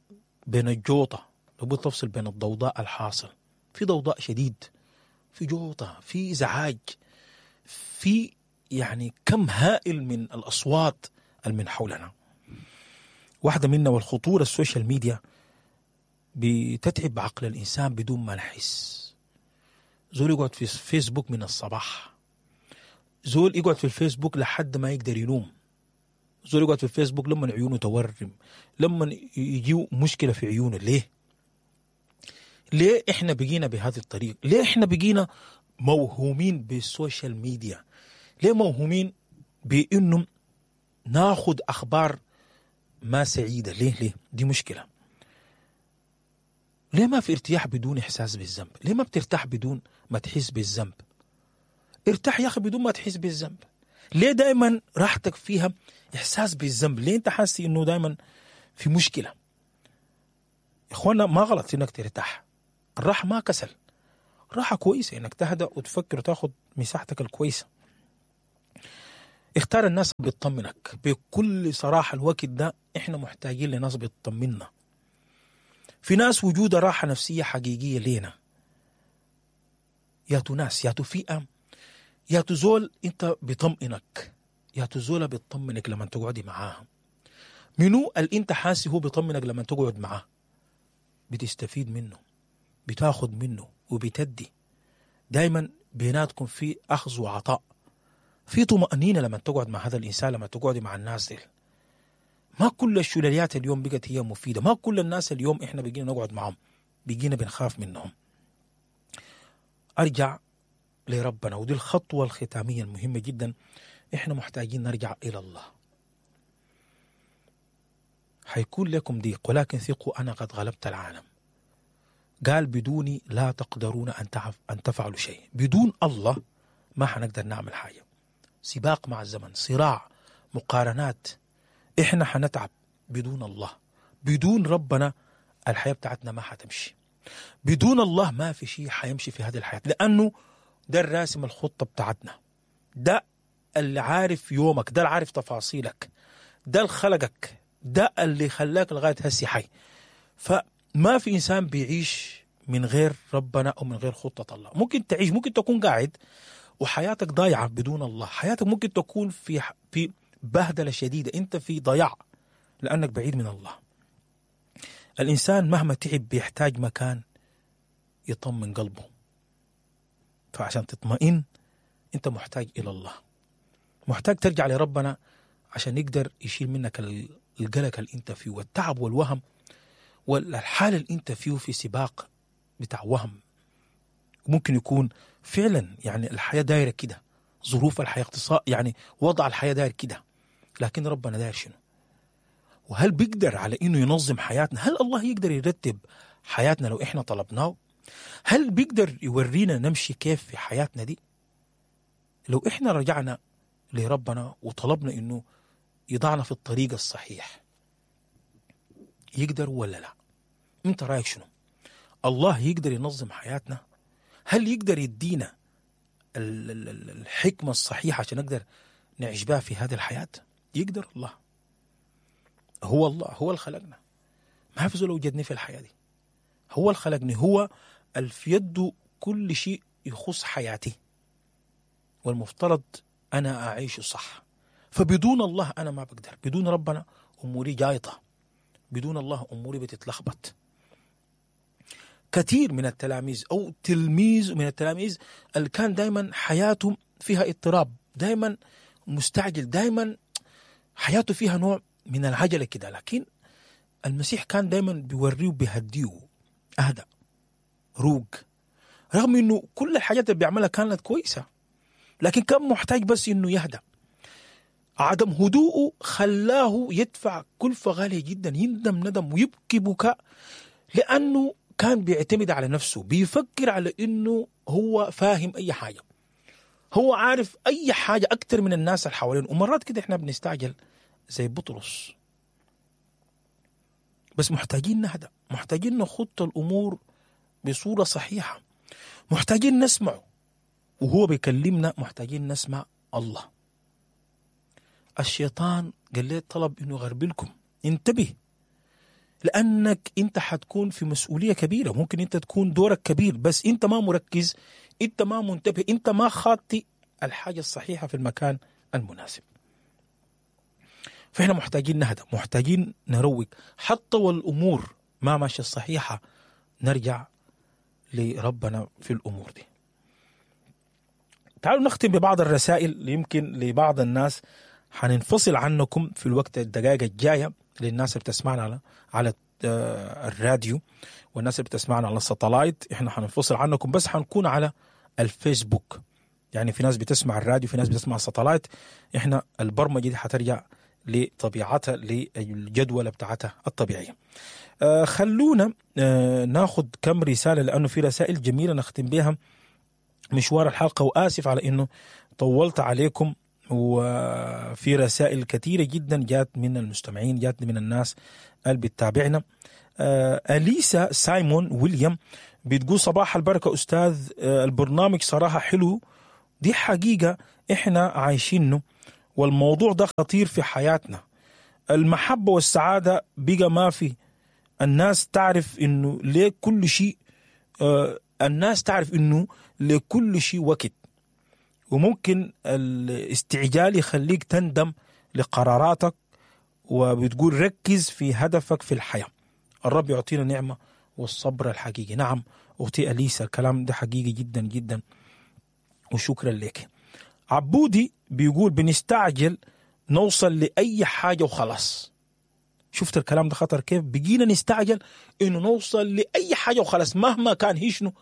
بين الجوطة، لابد تفصل بين الضوضاء الحاصل. في ضوضاء شديد، في جوطة، في ازعاج، في يعني كم هائل من الأصوات من حولنا. واحدة منا والخطورة ال social media بتتعب عقل الإنسان بدون ما نحس. زول يقعد في فيسبوك من الصباح، زول يقعد في الفيسبوك لحد ما يقدر ينوم، زول يقعد في الفيسبوك لما عيونه تورم، لما يجيو مشكلة في عيونه. ليه؟ ليه احنا بقينا بهذه الطريقة؟ ليه احنا بقينا موهومين بال social media؟ ليه موهومين بانه ناخذ اخبار ما سعيدة؟ ليه؟ ليه؟ دي مشكلة. ليه ما في ارتياح بدون احساس بالذنب؟ ليه ما بترتاح بدون ما تحس بالذنب؟ ارتاح يا اخي بدون ما تحس بالذنب. ليه دائما راحتك فيها احساس بالذنب؟ ليه انت حاسس انه دائما في مشكلة؟ اخوانا ما غلط انك ترتاح، الراحة ما كسل، راحة كويسة انك تهدأ وتفكر وتاخد مساحتك الكويسة. اختار الناس بتطمنك بكل صراحة. الوقت ده احنا محتاجين لناس بتطمنا. في ناس وجودها راحة نفسية حقيقية لينا. ياتو ناس، ياتو فئة، ياتو زول انت بيطمئنك، ياتو زولة بتطمنك لما تقعدي معاها. منو اللي انت حاسس هو بيطمنك لما تقعد معاه؟ بتستفيد منه، بتاخد منه وبتدي. دايما بيناتكم في اخذ وعطاء، في طمأنينة لما تقعد مع هذا الإنسان، لما تقعدي مع الناس دي. ما كل الشلاليات اليوم بقت هي مفيدة، ما كل الناس اليوم احنا بقينا نقعد معهم بقينا بنخاف منهم. أرجع لربنا، ودي الخطوة الختامية المهمة جدا. احنا محتاجين نرجع إلى الله. حيكون لكم ضيق، ولكن ثقوا أنا قد غلبت العالم. قال بدوني لا تقدرون أن تفعلوا شيء. بدون الله ما حنقدر نعمل حاجة. سباق مع الزمن، صراع، مقارنات، احنا حنتعب بدون الله. بدون ربنا الحياة بتاعتنا ما حتمشي. بدون الله ما في شيء حيمشي في هذه الحياة، لأنه ده الراسم الخطة بتاعتنا، ده اللي عارف يومك، ده اللي عارف تفاصيلك، ده اللي خلقك، ده اللي خلاك لغاية هسي حي. فما في إنسان بيعيش من غير ربنا أو من غير خطة الله. ممكن تعيش، ممكن تكون قاعد وحياتك ضايعة بدون الله، حياتك ممكن تكون في بهدلة شديدة، أنت في ضياع لأنك بعيد من الله. الإنسان مهما تعب بيحتاج مكان يطمن قلبه، فعشان تطمئن أنت محتاج إلى الله، محتاج ترجع لربنا عشان يقدر يشيل منك القلق اللي أنت فيه والتعب والوهم والحالة اللي أنت فيه في سباق بتاع وهم. ممكن يكون فعلا يعني الحياة دايرة كده، ظروف الحياة، اقتصاد، يعني وضع الحياة داير كده، لكن ربنا داير شنو؟ وهل بيقدر على إنه ينظم حياتنا؟ هل الله يقدر يرتب حياتنا لو إحنا طلبناه؟ هل بيقدر يورينا نمشي كيف في حياتنا دي؟ لو إحنا رجعنا لربنا وطلبنا إنه يضعنا في الطريق الصحيح، يقدر ولا لا؟ أنت رأيك شنو؟ الله يقدر ينظم حياتنا؟ هل يقدر يدينا الحكمة الصحيحة عشان نقدر نعيش بها في هذه الحياة؟ يقدر الله. هو الله، هو اللي خلقنا، ما في زول وجدني في الحياة دي، هو اللي خلقني، هو اللي في يده كل شيء يخص حياتي، والمفترض أنا أعيش صح. فبدون الله أنا ما بقدر، بدون ربنا أموري جايطة، بدون الله أموري بتتلخبط. كثير من التلاميذ أو تلميذ من التلاميذ اللي كان دايما حياته فيها اضطراب، دايما مستعجل، دايما حياته فيها نوع من العجلة كده، لكن المسيح كان دايما بيوريه وبيهديه، أهدأ، روق، رغم إنه كل الحاجات اللي بيعملها كانت كويسة، لكن كان محتاج بس إنه يهدأ. عدم هدوءه خلاه يدفع كلفة غالية جدا، يندم ندم ويبكي بكاء، لأنه كان بيعتمد على نفسه، بيفكر على إنه هو فاهم أي حاجة، هو عارف أي حاجة أكتر من الناس اللي حوالينه. ومرات كده إحنا بنستعجل زي بطرس، بس محتاجين نهدأ، محتاجين نخط الأمور بصورة صحيحة، محتاجين نسمعه وهو بيكلمنا، محتاجين نسمع الله. الشيطان قال لي طلب إنه يغربلكم، انتبه، لأنك أنت حتكون في مسؤولية كبيرة، ممكن أنت تكون دورك كبير، بس أنت ما مركز، أنت ما منتبه، أنت ما خاطي الحاجة الصحيحة في المكان المناسب. فإحنا محتاجين نهدى، محتاجين نروق، حتى والأمور ما ماشية الصحيحة نرجع لربنا في الأمور دي. تعالوا نختم ببعض الرسائل اللي يمكن لبعض الناس حننفصل عنكم في الوقت الدقائق الجاية، للناس اللي بتسمعنا على الراديو والناس اللي بتسمعنا على الساتلايت، احنا حننفصل عنكم، بس حنكون على الفيسبوك. يعني في ناس بتسمع الراديو، في ناس بتسمع الساتلايت، احنا البرمجة دي حترجع لطبيعتها، للجدولة بتاعتها الطبيعية. خلونا ناخد كم رسالة، لأنه في رسائل جميلة نختم بها مشوار الحلقة، وآسف على إنه طولت عليكم وفي رسائل كثيرة جدا جات من المستمعين، جات من الناس اللي بتتابعنا. أليسا سايمون ويليام بتقول صباح البركة أستاذ، البرنامج صراحة حلو، دي حقيقة إحنا عايشينه والموضوع ده خطير في حياتنا. المحبة والسعادة بقى ما في، الناس تعرف إنه ليه كل شيء، الناس تعرف إنه لكل شيء وقت، وممكن الاستعجال يخليك تندم لقراراتك. وبتقول ركز في هدفك في الحياة، الرب يعطينا نعمة والصبر الحقيقي. نعم أختي أليسا، الكلام ده حقيقي جدا جدا، وشكرا لك. عبودي بيقول بنستعجل نوصل لأي حاجة وخلاص. شفت الكلام ده خطر كيف؟ بقينا نستعجل إنه نوصل لأي حاجة وخلاص، مهما كان هي شنو،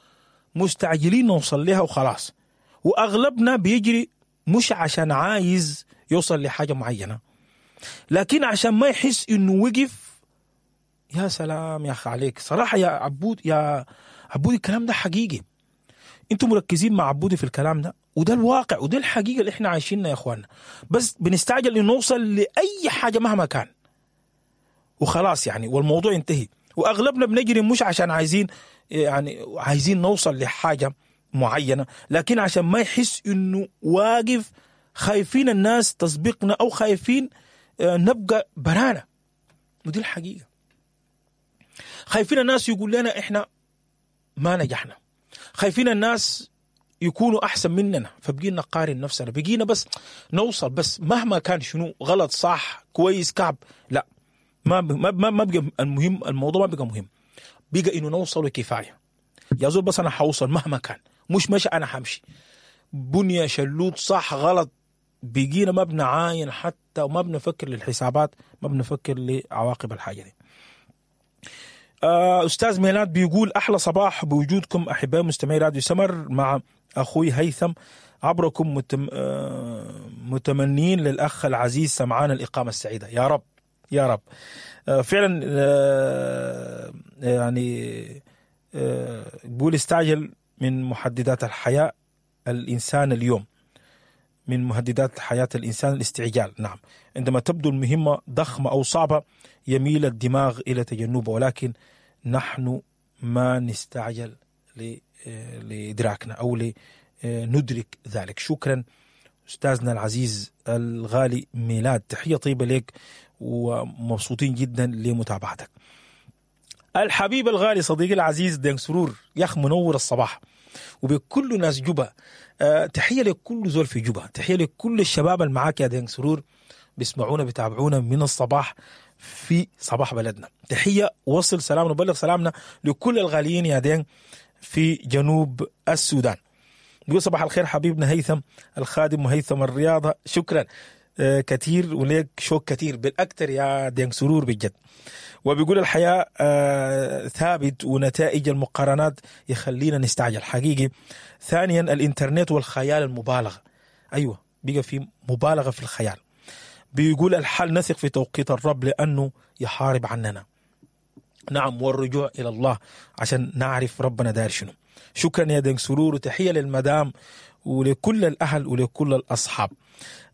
مستعجلين نوصل لها وخلاص. وأغلبنا بيجري مش عشان عايز يوصل لحاجة معينة، لكن عشان ما يحس إنه وقف. يا سلام يا أخي عليك صراحة يا عبود، يا عبودي الكلام ده حقيقي. انتم مركزين مع عبودي في الكلام ده، وده الواقع وده الحقيقة اللي احنا عايشينها يا اخواننا. بس بنستعجل إنه نوصل لأي حاجة مهما كان وخلاص يعني، والموضوع ينتهي. وأغلبنا بنجري مش عشان عايزين يعني عايزين نوصل لحاجة معينة، لكن عشان ما يحس إنه واقف، خايفين الناس تسبقنا أو خايفين نبقى برانا. ودي الحقيقة، خايفين الناس يقول لنا إحنا ما نجحنا، خايفين الناس يكونوا أحسن مننا، فبقينا نقارن نفسنا، بقينا بس نوصل بس مهما كان شنو، غلط صح كويس كعب، لا ما ما ما بقى المهم، الموضوع ما بقى مهم، بقى إنه نوصل كفاية. يا زول بس أنا حوصل مهما كان، مش ماشي أنا حمشي، بنية شلوت صح غلط، بقينا ما بنعاين حتى، وما بنفكر للحسابات، ما بنفكر لعواقب الحاجة دي. أستاذ ميلاد بيقول أحلى صباح بوجودكم أحبائي مستمعي راديو سمر مع أخوي هيثم، عبركم متمنين للأخ العزيز سمعان الإقامة السعيدة. يا رب يا رب. فعلا يعني بيقول استعجل من محددات الحياة الإنسان اليوم، من مهددات حياة الإنسان الاستعجال. نعم، عندما تبدو المهمة ضخمة أو صعبة يميل الدماغ إلى تجنبه، ولكن نحن ما نستعجل لإدراكنا أو لندرك ذلك. شكرا أستاذنا العزيز الغالي ميلاد، تحية طيبة لك ومبسوطين جدا لمتابعتك. الحبيب الغالي صديقي العزيز دينق سرور، يا أخ منور الصباح وبكل ناس جوبا. تحية لكل زول في جوبا، تحية لكل الشباب المعاك يا دينق سرور، بيسمعونا بيتابعونا من الصباح في صباح بلدنا. تحية، وصل سلامنا وبلغ سلامنا لكل الغاليين يا دينق في جنوب السودان. نقول صباح الخير حبيبنا هيثم الخادم وهيثم الرياضة، شكرا كثير وليك شوق كثير بالأكثر يا دينق سرور بجد. وبيقول الحياة ثابت ونتائج المقارنات يخلينا نستعجل حقيقي. ثانيا الإنترنت والخيال المبالغة، أيوة بيقى في مبالغة في الخيال. بيقول الحل نثق في توقيت الرب لأنه يحارب عننا. نعم، والرجوع إلى الله عشان نعرف ربنا داير شنو. شكرا يا دينق سرور، وتحية للمدام ولكل الأهل ولكل الأصحاب.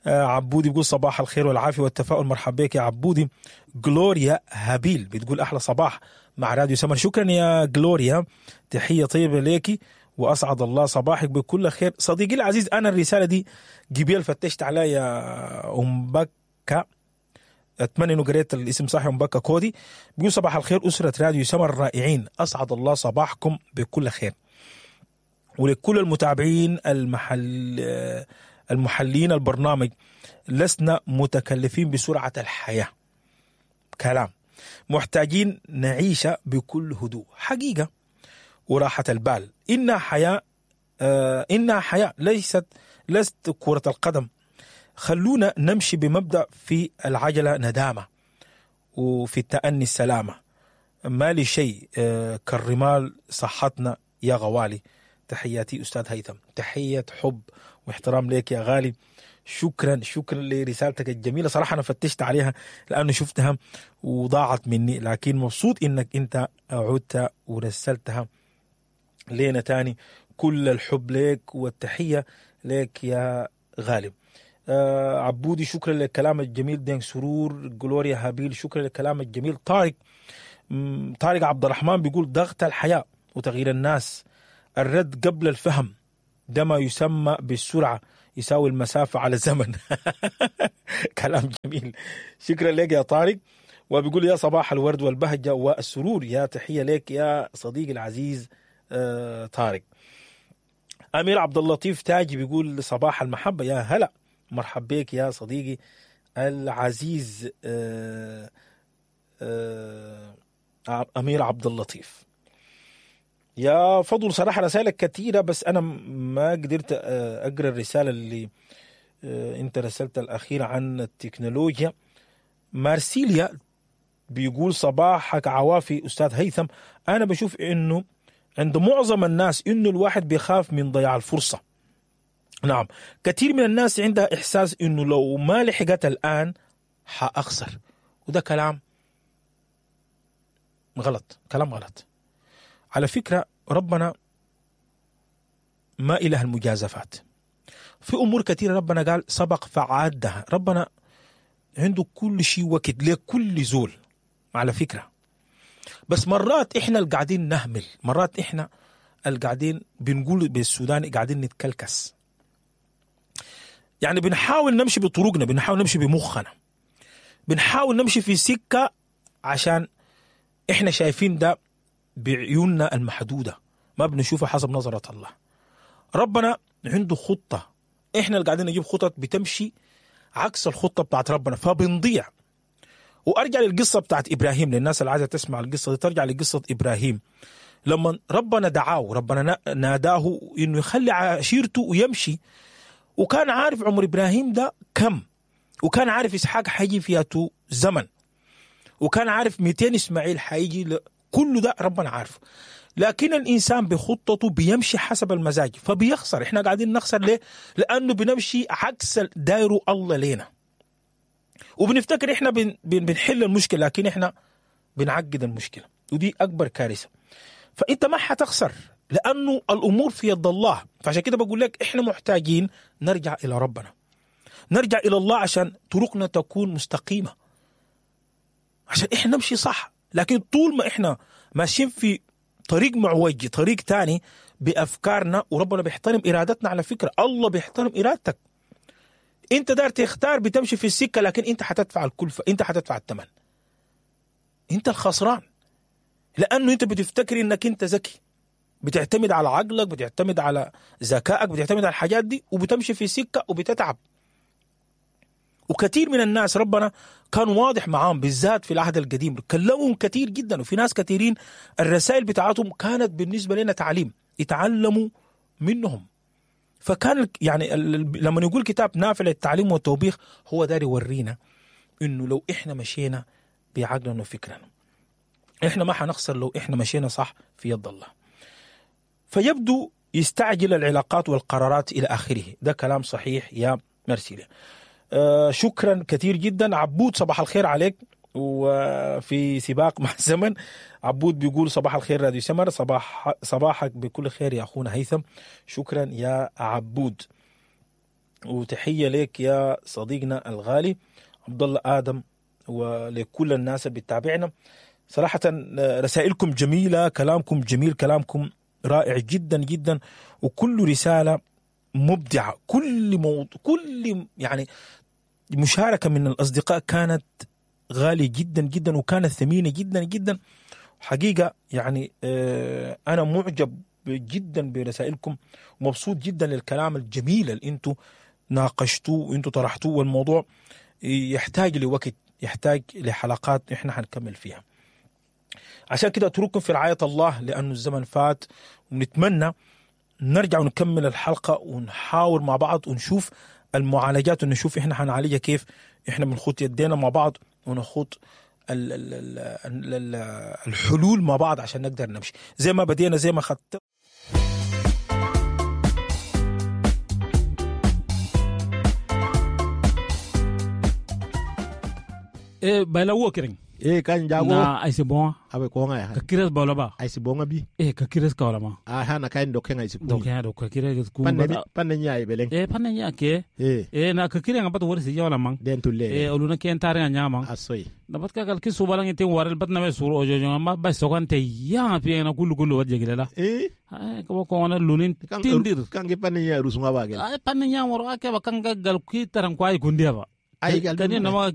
عبودي بيقول صباح الخير والعافية والتفاؤل، مرحبا بك يا عبودي. جلوريا هابيل بتقول أحلى صباح مع راديو سمر، شكرا يا جلوريا، تحية طيبة ليكي وأسعد الله صباحك بكل خير. صديقي العزيز، أنا الرسالة دي جبيل فتشت عليها يا أم بكة، أتمنى إنه قريت الاسم صح، أم بكة كودي. بيقول صباح الخير أسرة راديو سمر الرائعين، أسعد الله صباحكم بكل خير ولكل المتابعين المحلين البرنامج. لسنا متكلفين بسرعة الحياة، كلام محتاجين نعيش بكل هدوء حقيقة وراحة البال. إنها حياة، إنها حياة ليست كرة القدم. خلونا نمشي بمبدأ في العجلة ندامة وفي التأني السلامة. ما لي شيء كالرمال صحتنا يا غوالي. تحياتي أستاذ هيثم، تحية حب واحترام لك يا غالي. شكرا شكرا لرسالتك الجميلة، صراحة أنا فتشت عليها لأنه شفتها وضاعت مني، لكن مبسوط إنك أنت عدت ورسلتها لنا تاني. كل الحب لك والتحية لك يا غالي. عبودي شكرا للكلام الجميل. دين سرور، جلوريا هابيل شكرا للكلام الجميل. طارق طارق عبد الرحمن بيقول ضغط الحياة وتغيير الناس، الرد قبل الفهم، ده ما يسمى بالسرعة يساوي المسافة على الزمن. كلام جميل، شكرا لك يا طارق. وبيقول يا صباح الورد والبهجة والسرور، يا تحية لك يا صديقي العزيز طارق. أمير عبد اللطيف تاجي بيقول صباح المحبة، يا هلا مرحب بك يا صديقي العزيز أمير عبد اللطيف. يا فضل صراحة رسائلك كثيرة، بس أنا ما قدرت أقرأ الرسالة اللي أنت رسلتها الأخيرة عن التكنولوجيا. مارسيليا بيقول صباحك عوافي أستاذ هيثم، أنا بشوف إنه عند معظم الناس إنه الواحد بيخاف من ضياع الفرصة. نعم، كثير من الناس عندها إحساس إنه لو ما لحقت الآن حأخسر، وده كلام غلط، كلام غلط. على فكرة ربنا ما إله المجازفات. في أمور كثيرة ربنا قال سبق فعادها، ربنا عنده كل شيء وقت لكل زول على فكرة. بس مرات إحنا اللي قاعدين نهمل، مرات إحنا اللي قاعدين بنقول بالسوداني قاعدين نتكلكس، يعني بنحاول نمشي بطرقنا، بنحاول نمشي بمخنا، بنحاول نمشي في سكة عشان إحنا شايفين ده بعيوننا المحدودة، ما بنشوفها حسب نظرة الله. ربنا عنده خطة، إحنا اللي قاعدين نجيب خطط بتمشي عكس الخطة بتاعت ربنا، فبنضيع. وأرجع للقصة بتاعت إبراهيم، للناس اللي عايزة تسمع القصة دي ترجع لقصة إبراهيم. لما ربنا دعاه، ربنا ناداه إنه يخلي عشيرته ويمشي، وكان عارف عمر إبراهيم ده كم، وكان عارف إسحاق حيجي فياته زمن، وكان عارف 200 إسماعيل حيجي، كل ده ربنا عارفه. لكن الإنسان بخطته بيمشي حسب المزاج فبيخسر. إحنا قاعدين نخسر ليه؟ لأنه بنمشي عكس دايره الله لينا، وبنفتكر إحنا بنحل المشكلة، لكن إحنا بنعقد المشكلة، ودي أكبر كارثة. فأنت ما حتخسر لأنه الأمور في يد الله. فعشان كده بقول لك إحنا محتاجين نرجع إلى ربنا، نرجع إلى الله عشان طرقنا تكون مستقيمة، عشان إحنا نمشي صح. لكن طول ما إحنا ماشيين في طريق معوج، طريق تاني بأفكارنا، وربنا بيحترم إرادتنا على فكرة، الله بيحترم إرادتك. أنت دار تختار بتمشي في السكة، لكن أنت حتدفع الكلفة، أنت حتدفع الثمن، أنت الخسران، لأنه أنت بتفتكر إنك أنت ذكي، بتعتمد على عقلك، بتعتمد على ذكائك، بتعتمد على الحاجات دي، وبتمشي في سكة وبتتعب. وكثير من الناس ربنا كان واضح معاهم، بالذات في العهد القديم كلمهم كثير جدا، وفي ناس كثيرين الرسائل بتاعتهم كانت بالنسبة لنا تعليم يتعلموا منهم. فكان يعني لما يقول كتاب نافع للتعليم والتوبيخ، هو داري يورينا انه لو احنا مشينا بعقلنا وفكرنا احنا ما حنخسر لو احنا مشينا صح في يد الله. فيبدو يستعجل العلاقات والقرارات الى اخره. ده كلام صحيح يا مرسيلة. شكرا كثير جدا عبود، صباح الخير عليك. وفي سباق مع الزمن عبود بيقول صباح الخير راديو سمر، صباحك بكل خير يا أخونا هيثم. شكرا يا عبود، وتحية لك يا صديقنا الغالي عبد الله آدم ولكل الناس اللي بتتابعنا. صراحة رسائلكم جميلة، كلامكم جميل، كلامكم رائع جدا جدا، وكل رسالة مبدعة، كل موضوع، كل يعني مشاركة من الأصدقاء كانت غالية جدا جدا، وكانت ثمينة جدا جدا حقيقة. يعني أنا معجب جدا برسائلكم، ومبسوط جدا للكلام الجميل اللي أنتوا ناقشتوه وأنتوا طرحتوه، والموضوع يحتاج لوقت، يحتاج لحلقات إحنا هنكمل فيها. عشان كده أترككم في رعاية الله، لأنه الزمن فات، ونتمنى نرجع ونكمل الحلقة ونحاور مع بعض ونشوف المعالجات، ونشوف إحنا هنعالجها كيف. إحنا بنخوض يدينا مع بعض ونخوض الحلول مع بعض عشان نقدر نمشي زي ما بدينا، زي ما خدت. إيه بلا وكرين Eh kan jago Na ai se bon. Abe ko ngai. Ka kires ba ba. Ai si bonga bi. Eh ka kires ka wala ma. A hana kain do kenga isi Do ka do ka kires ku. Panne panne nyaay beleng. Eh panne nya ke. Eh. Eh na ka kire ngabat wori si jawla mang. Den tulle. Eh oluna ken tare nya mang. Asoy. Na bat ka kal ki subalang ite warel bat na me suru ojo jo ma ba sokan te ya pi na kulu kulu wat jeglela. Eh. Ay ko ko na lunin tindir. Kan ke panne nya rusunga ba gel. Ay panne nya woro ake ba kan gal ki taran kwai kundia ba. Ay gal kani na ma